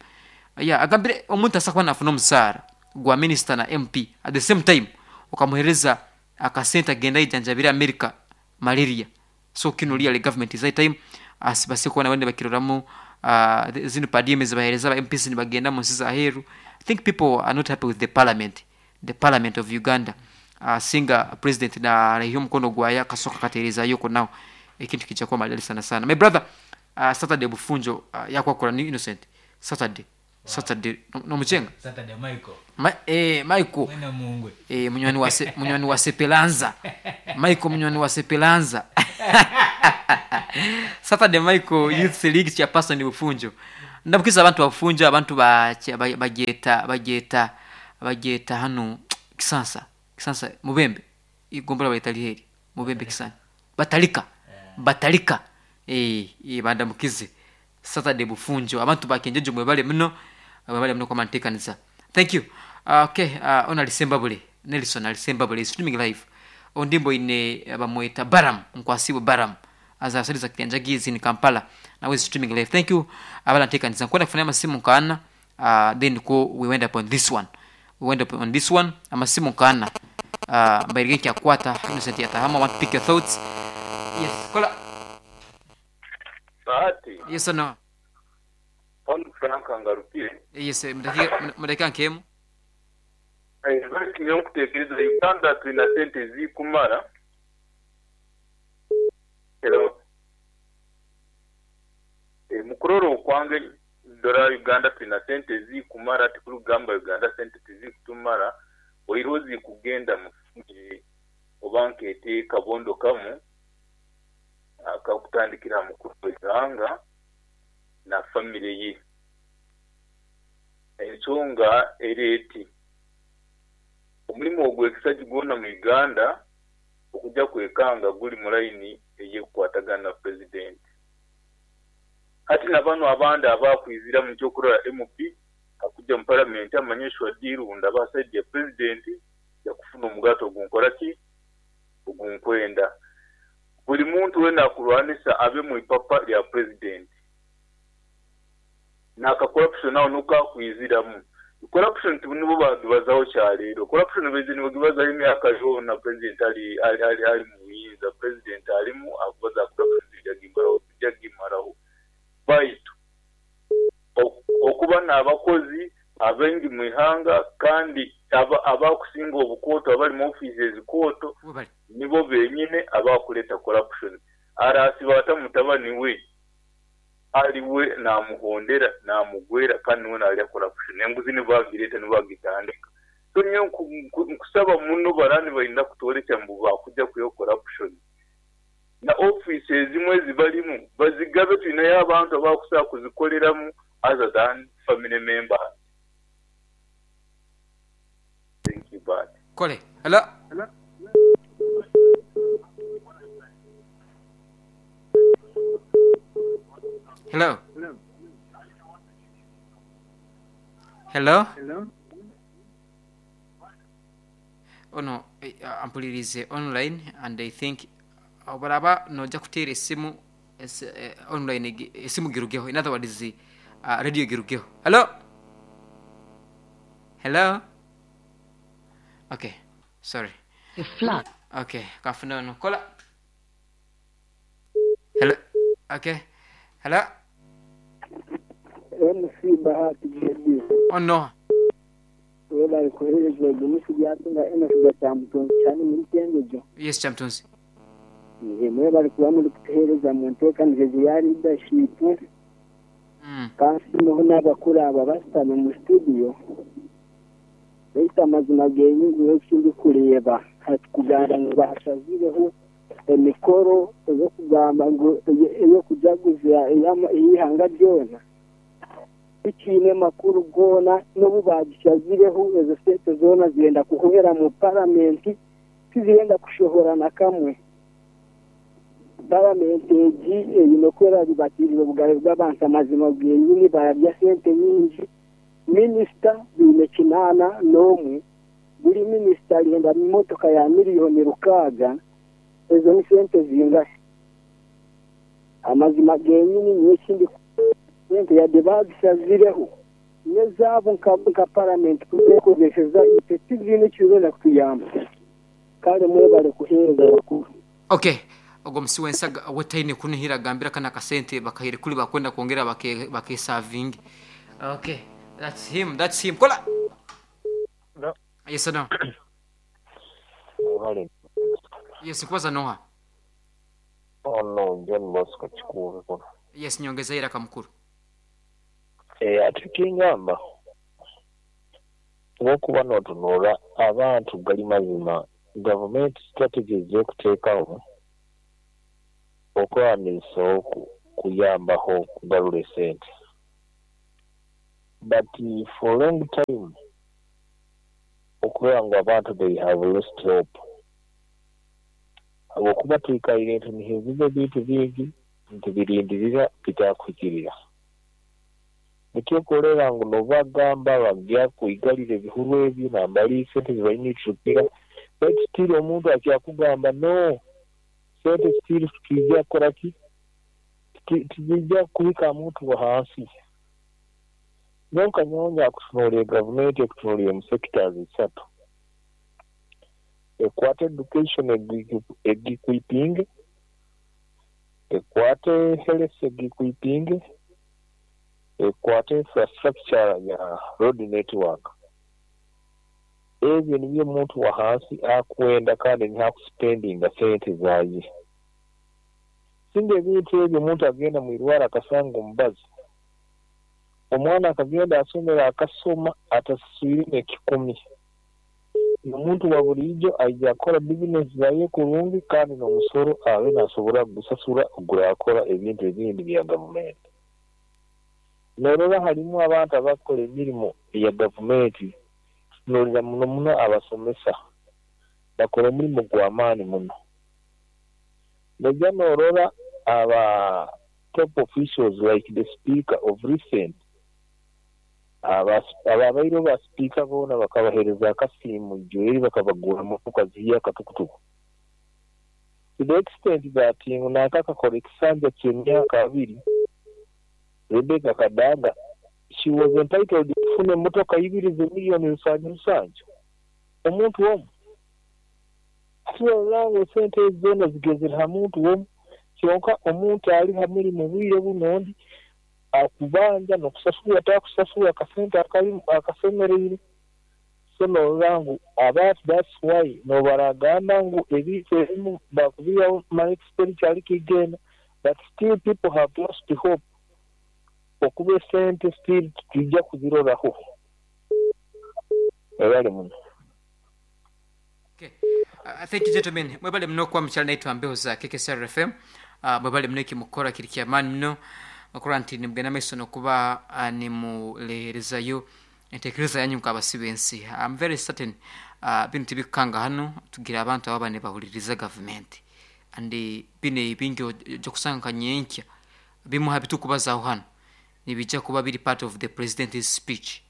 yeah agambire omuntu asobola kuba nafuna omusaara gwa minister na MP at the same time okamuhereza akasente agende ayejanjabire America malaria so kinu really government is high time base kuba nabo nibakiroramu zinu per diem ezibahereza aba MPs nibagenda omunsi zaheru I think people are not happy with the parliament the parliament of Uganda singa president naraiha omukono gwaye akasoka akaterezayo okwo naho ekintu kija kuba maridadi sana sana my brother Saturday bufunjo yakwakura ni Innocent Saturday. Saturday nomucenga Saturday Michael. Ma, Michael. Mwena mungwe. Munywani wa munywani wa Sepelanza. Michael munywani wa Sepelanza. Saturday Michael Youth League chairperson Bufunjo. Ndabukiza abantu bafunjo abantu bageta bageta bageta hano Kisansa. Kisansa Mubembe. Igombora bayita liheri. Mubembe Kisansa. Batalika. Batalika. Bandamukize. Saturday Bufunjo abantu bakenjeje mwebale muno. Mwebale muno kwa mantekanisa. Thank you. Okay, ona alisembabule. Nelson alisembabule streaming live. Ondimbo ine bamweta Baram, nkwasibu Baram. Aza asaliza kianjagizi ni Kampala. Now is streaming live. Thank you. Abala ntekanisa. Kwenda kufanya masimu kana. Then ko we went up on this one. We went up on this one. Amasimu kana. Mbairige kyakwata Innocent Yatahama want to pick your thoughts. Yes, kola. Bahati. Yes or no? Paul Frank angarukire. Yes, mudakika nkemu. Bari nkutekereza Uganda tulina sente zikumara. Hello. Mukuroro okwange ndora Uganda tulina sente zikumara tikurugamba Uganda sente tizikutumara oirozi zikugenda mufunge obanka ete kabondo kamu akakutandikira mukuru w'ihanga na family ye. Ensonga eri eti omulimu ogw'ekisajja gwona mu Uganda okujja kwekanga guli mu layini ey'ekukwatagana na president. Hati na bano abandi abakwizira mu kyokurora MP akujja mu parliament amanyishwa dirunda abasajja president yakufuna omugato ogunkora ki ogunkwenda. Buli muntu wena akulwanisa abe mu ipapa lya president. Naka corruption nawo nukakwiziramu. Corruption nibo bagibazaho kyaleero. Corruption bezi nibo gibazaho emyaka yona president ali ali ali ali muyinza president alimu akubaza corruption zijagimaraho. Baitu okuba n'abakozi abengi mu ihanga kandi abakusinga obukoto abali mu offices ezikoto nibo benyine abakuleta corruption. Arasiba mutabani we aliwe namuhondera namugwera kandi niwe nalya corruption. Enguzi nibagireta nibagitandika. So nyo nkusaba muno barani balina kutorekya mbu bakujja kuyo corruption. Na offices ezimwe zibalimu bazigabe tulinayo abantu abakusobola kuzikoleramu other than family members. Thank you, bye. Kole. Hello. Hello. Hello. Hello. Hello. Oh no, ampulirize online and I think obaraba noja kuteera esimu online esimu girugeho. In other words, radio girugeho. Hello. Hello. Okay, sorry. Okay, kafuna no kola. Hello. Okay. Hello. MC Bahati JB. Oh no. Wela ikoherezwa gumusi byatunga MC Chamtunzi cyane muri Kengejo. Yes, Chamtunzi. Nje mwe bari kuba muri kutuhereza mu ntekanirize ya leadership. Kandi noho n'abakuru aba basitame mu studio. Bita amazima genyingi y'ekindi kureba hatukugamba ngo bashazireho emikoro eyo kugamba ngo eyo kujaguza ihanga ryona ikiine makuru gona n'obu bagishazireho ezo sente zona zigenda kuhwera mu paramenti tizigenda kushohora na kamwe. Paramenti egi eyine kwera ribatirire obugabe bw'abantu amazima genyini bararya sente nyingi. Minisita biine 81 buri minisita agenda mu motoka ya 6 million ezo ni sente zingahe? Amazima genyini n'ekindi sente yadde bagishazireho nezaabo nka paramenti kuzekozeseza itwe tiziine ekirenda kutuyamba. Kale mwebale kuheereza bakuru. Okay. Ogwo musi wensaga wetaine kunihira gambira kana kasente bakahire kuli bakwenda kwongera bakesavingi. Okay. That's him. That's him. Kola. No. Yes or no? Yes, kubaza noha. Oh no, John Bosco Chikuve kuno. Yes, nyongeza ira kamukuru. Ati ekingamba bwokuba notunuura abantu gali mazima gavumenti strategies zekuteekaho okuraba nizisobola okuyambaho okugarura esente but for long time okurora ngu abantu they have lost hope habwokuba twikaire nitunihiiriza ebintu bingi nitubirindirira bitakuhikirira. Nikyo okureba ngu nobagamba bagya kwigarira ebihuru ebyo nambari sente zibaine baitu still omuntu akyakugamba no sente still titwija kukora ki tizija kuhika aha muntu wahansi. Nyowe nka nyowe nyakutunuurire gavumenti ekutunuurire omu sectors isatu, ekwate education egikwipinge, ekwate health egikwipinge, ekwate infrastructure ya road network. Ebyo nibyo omuntu wahansi akwenda kandi niho akusipendinga sente zaye. Singa ebintu ebyo omuntu agenda mwirwaro akasanga omubazi, omwana akagenda ahasomero akasoma atasaswire nekikumi, nomuntu waburiijo aija kukora bizinesi zaye kurungi kandi nomusoro abe nasobora kugusasura ogurakora ebintu ebindi bya gavumenti. Norora harimu abantu abakukora emirimo eya gavumenti, tutunuurira muno muno abasomesa, bakora omurimo gwamaani muno. Noija norora aba top officials like the speaker of recent, ababaireho ba sipiika boona bakabahereza akasiimo ijo eri bakabagurra motoka zihyaka tukutuku. To the extent that ngu nanka akakora ekisanja ky'emyaka abiri, Rebecca Kadaga, she was entitled kufuna emotoka ibiri ze million rusanju rusanju omuntu omu. Hati norora ngu esente ezi zoona zigezire ha muntu omu, kyonka omuntu ali ha murimo bwire bunu ondi akubanja nokusasurwa takusasurwa akasente akasemereire. So norora ngu abantu that's why nobaragamba ngu ebintu ebimu bakubihaho mara expenditure arikigenda but still people have lost hope okuba esente still titwija kuziroraho. Webale muno. Okay. Thank you gentlemen. Mwebale muno kuba mukyali naitwe aha mbeho za KKCR FM. Mwebale muno ekimukukora kiri kyamaani muno okurora nti nimugenda maiso nokuba nimureherezayo entekereza yanyu nk'abasi b'ensi. I'm very certain binu tibikukanga hanu tugira abantu ababa nibahuliriza gavumenti and binu ebingi oja kusanga nka nyenkya bimu ha bitukubazaho hanu nibija kuba biri part of the president's speech.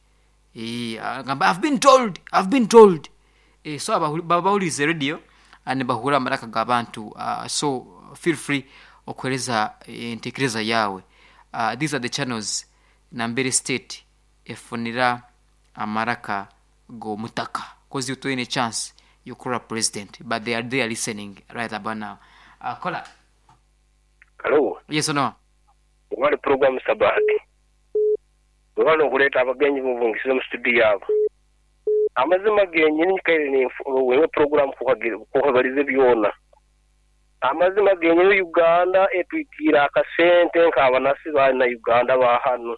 Agamba I've been told, I've been told. So baba bahulirize radio nibahurra amaraka g'abantu so feel free okuhereza entekereza yaawe. These are the channels nambere state efunira amaraka g'omutaka coz iwe toine chance y'okurora president but they are there listening right about now. Kola. Halo. Yes no. Webale program Sabati. Webale okuleeta abagenyi bo obungisize mu studio abo. Amazima genyini nyikaire ninfollowinga program kuhabalize byona. Amazima genyini Uganda etwitiire akasente nk'abanasi ba na Uganda ba hanu.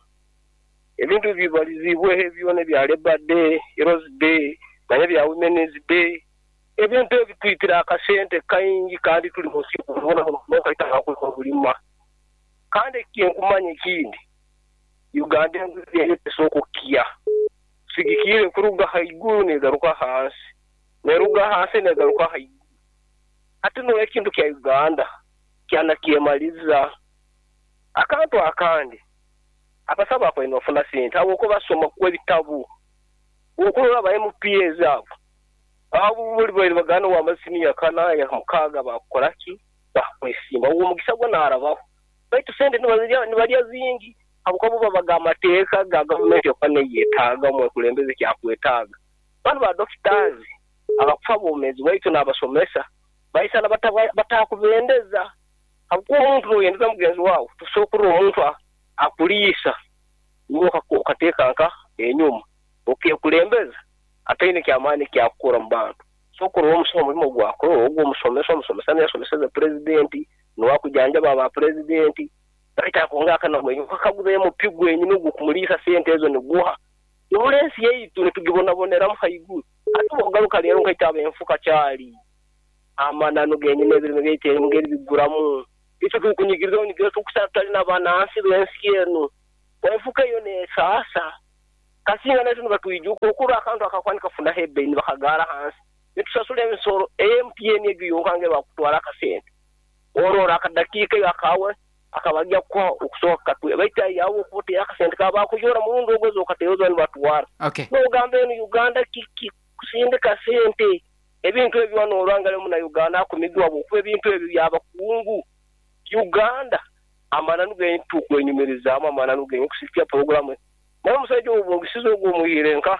Ebintu ebibalizibweho ebyona ebya Labour Day, Heroes Day, manya ebya Women's Day, ebintu ebyo bitwitire akasente kaingi kandi tuli munsi y'okubonabona munonga okulima. Kandi ekinkumanya ekindi, Uganda enguzi eyo tesobola kukya. Sigikiire kuruga haiguru negaruka ahansi, neruga ahansi negaruka haiguru. Hati noyo ekintu kya Uganda kyanakyemaliza. Akantu akandi, abasawo bakubaire nibafuna sente ahabw'okuba basoma ku ebitabu. Bw'okurora ba MPs abo, abo buri babaire nibagamba wamaze siniya kana, ya mukaaga bakukora ki? Bakwesimba. Ogwo omugisa gwo narabaho. Baitu sente nibarya zingi ahabw'okuba bo babaga amateeka ga gavumenti ekuba neyetaaga omwekulembeze ekyakwetaaga. Banu ba doctors abakufa bwomezi bwaitu nabasomesa baisana batakubendeza. Ahabw'okuba omuntu noyendeza mugenzi waawe, tosobola kurora omuntu akuriisa iwe okateeka nka enyuma okekulembeza ataine kyamaani eki akukora omu bantu. So kurora omusaho omurimo ogu akora ogwo omusomesa, omusomesa niwe asomeseze purezidenti, niwe akujanjaba ba purezidenti. Baitu ako ngaka namwenye okakaguza MP gwenyini ogukumuriisa sente ezo niguha? Nohurra ensi yaitu nitugibonaboneramu haiguru. Hati bwogaruka leero nkaitwe abenfuka kyali amananu genyini ebirime byaitu engeri biguramu. Itwe turikunyigiriza onyigiriza tukusara tutari na banansi bensi enu. Enfuka eyo nesaasa. Kasinga naitwe nibatwijuka okurora akantu akakuba nikafunaho ebeyi nibakagaara ahansi. Nitusasura emisoro eya MTN egyo yonka ngu bakutwara akasente. Orora akadakiika eyo akaawe akaba kukuha okusobola kukatwera. Baitu aho okuba oteire akasente kaawe bakujoora murundi ogwo ezo okateera zoona nibatwara. Okay. Nogamba enu Uganda kiki kusindika sente ebintu ebyo norora ngu omuna Uganda akumigwa habwokuba ebintu ebyo byabakungu. Uganda amananu genyini tukwenyumirizaamu amananu genyini kusikia puroguramu naye omusaija owobungisize ogwo omwihire nka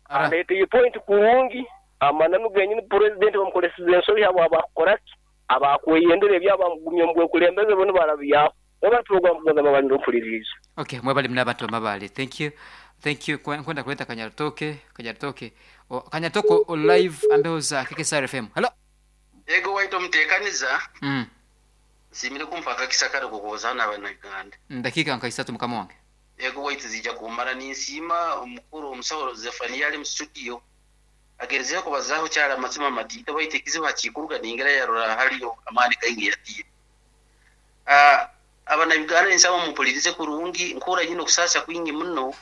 aleteire point kurungi amananu genyini purezidenti bamukolesize ensobi habwa bakukoraki abakweyendera ebyabo bamugumya omu bwekulembeze bo nibarabyaho. Mwebale puroguramu kugonza mabale nompuliriize. Okay, mwebale muna abantu bamabale. Thank you. Thank you. Nkwenda kuleta Kanyarutooke, Kanyarutooke. O, Kanyarutooke o live ambeho za KKSR FM. Hello. Yego waitu omutekaniza. Nsiimire kumpa akakisa kare kukubuzaho n'abanyarwanda. Dakiika nka isatu mukama wange. Yego waitu ziija kumara ninsiima omukuru omusaho Zephania ari mu studio agerizeho kubazaho kyari amazima matiito baitu ekizibu hakikuruga ningira yarora hariyo amaani kaingi yatiire. Abanyarwanda ninsaba mumpulirize kurungi nkuura nyine okusaasa kwingi muno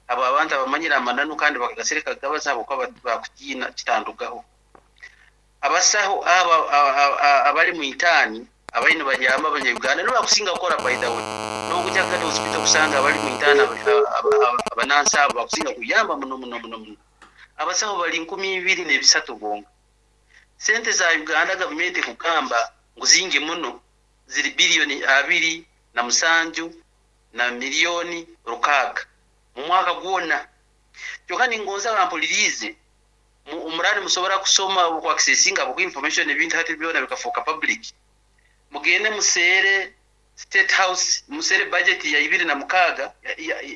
abo abantu abamanyire amananu kandi bakagasereka gabaza habwokuba bakutiina kitandugaho. Abasaho aba abari mu itaani abari nibayamba abanyarwanda nibo bakusinga kukora by the way. N'okujya kugata hospital kusanga abari mu itaani abanansi abo bakusinga kuyamba muno muno muno muno. Abasaho bari 2,300 bonka. Sente za Uganda gavumenti kugamba ngu zingi muno ziri biliyoni abiri na musanju na miliyoni rukaaga mu mwaka gwona. Kyonka ningonza bampulirize omurari musobora kusoma okwakisesinga ku information ebintu hati byona bikafuuka public. Mugende museere State House, museere budget ya ibiri na mukaaga,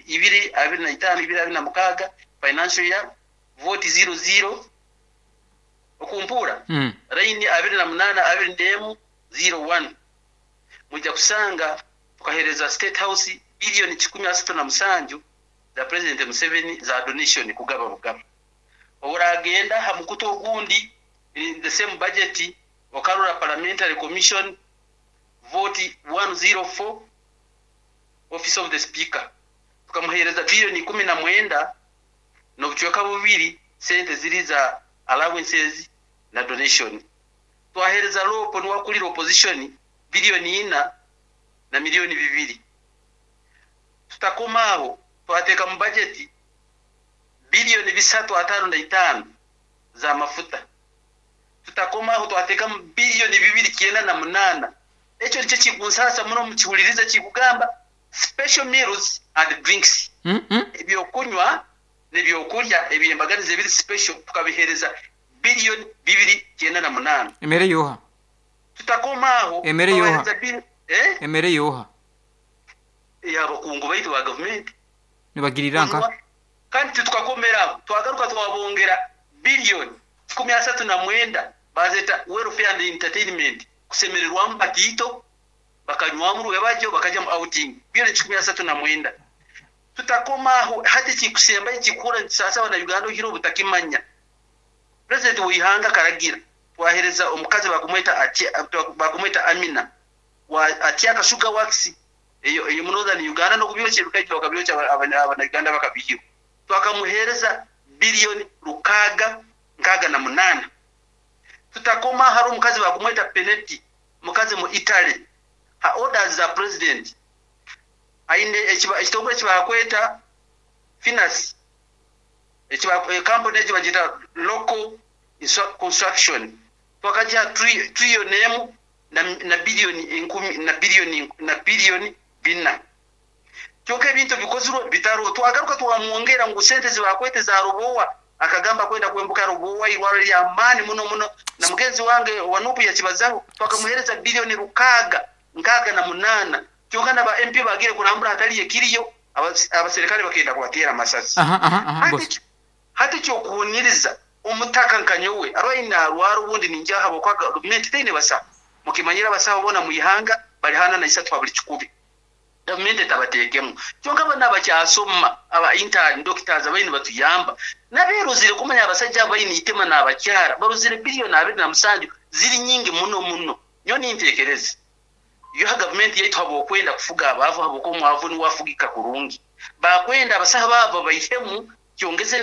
ibiri abiri na itaano, ibiri abiri na mukaaga, financial year, vote zero zero, okumpura, line abiri na munaana, abiri n'emu, zero one. Mwija kusanga tukahereza State House biliyoni kikumi asatu na musanju za President Museveni za donation kugaba bugaba. Oburagenda ha mukutu ogundi in the same budget okarura Parliamentary Commission vote 104 Office of the Speaker tukamuhereza biliyoni kumi na mwenda n'obucweka bubiri sente ziri za allowances na donation. Twahereza LOP niwakulira opposition biliyoni ina na miliyoni bibiri. Tutakomaaho twateeka mu budget biliyoni bisatu ataano na itaano za mafuta. Tutakomaaho twateeka mu biliyoni bibiri kyenda na munaana. Ekyo nikyo kikunsasa muno mukihuliriza kikugamba special meals and drinks. Ebyokunywa n'ebyokurya ebyembaganiza ebiri special tukabihereza biliyoni bibiri kyenda na munaana. Emere yoha. Tutakomaaho Emere yoha. Emere yoha. Y'abakungu baitu ba gavumenti. Nibagirira nka. Kandi titukakomeraho twagaruka twabongera biliyoni kikumi asatu na mwenda bazeta welfare and entertainment kusemererwamu batiito bakanywamu rwebajyo bakajya mu outing biliyoni kikumi asatu na mwenda. Tutakomaho hati kikusemba kikura sasa wana Uganda ohiro butakimanya. President wihanga karagira twahereza omukazi bakumweta Amina wa Atiaka Sugar Works eyo eyo Northern Uganda no kubyoche bikaitwa bakabyocha abana Uganda bakabihiyo. Twakamuhereza biliyoni rukaga nkaga na munana. Tutakoma hari omukazi bakumweta Peneti mukazi mu Italy ha orders za president aine ekitongole kibakweta finance ekiba company ekibagita local construction twakaja trillion emu na biliyoni enkumi na biliyoni na biliyoni bina. Kyonka ebintu bikozirwe bitaro twagaruka twamwongera ngu sente zibakwete za Rubowa akagamba kwenda kwembuka Rubowa irwaro lya amani muno muno na mugenzi wange wanupu yakibazaho twakamuhereza biliyoni rukaga nkaga na munana. Kyonka na ba MP bagire kurambura hatali ekiriyo abaserikale bakenda kubatera amasasi. Hati kyokuhuniriza omutaka nkanyowe arwaina arwara ubundi ninjaha bokwa gavumenti teine basa mukimanyira basaho bona muihanga Bari 43 ha buri kikumi. Gavumenti etabateekemu. Kyonka banu abakyasoma, aba intern doctors abariyo nibatuyamba, n'abeerozire kumanya abasajja aba baine eitima n'abakyara, barozire billion 27 ziri nyingi muno muno. Nyowe ninteekereza, yo ha gavumenti yaitu habw'okwenda kufuga abaavu habw'okuba omwavu niwe afugika kurungi. Baakwenda abasaho abo babaihemu kyongeze.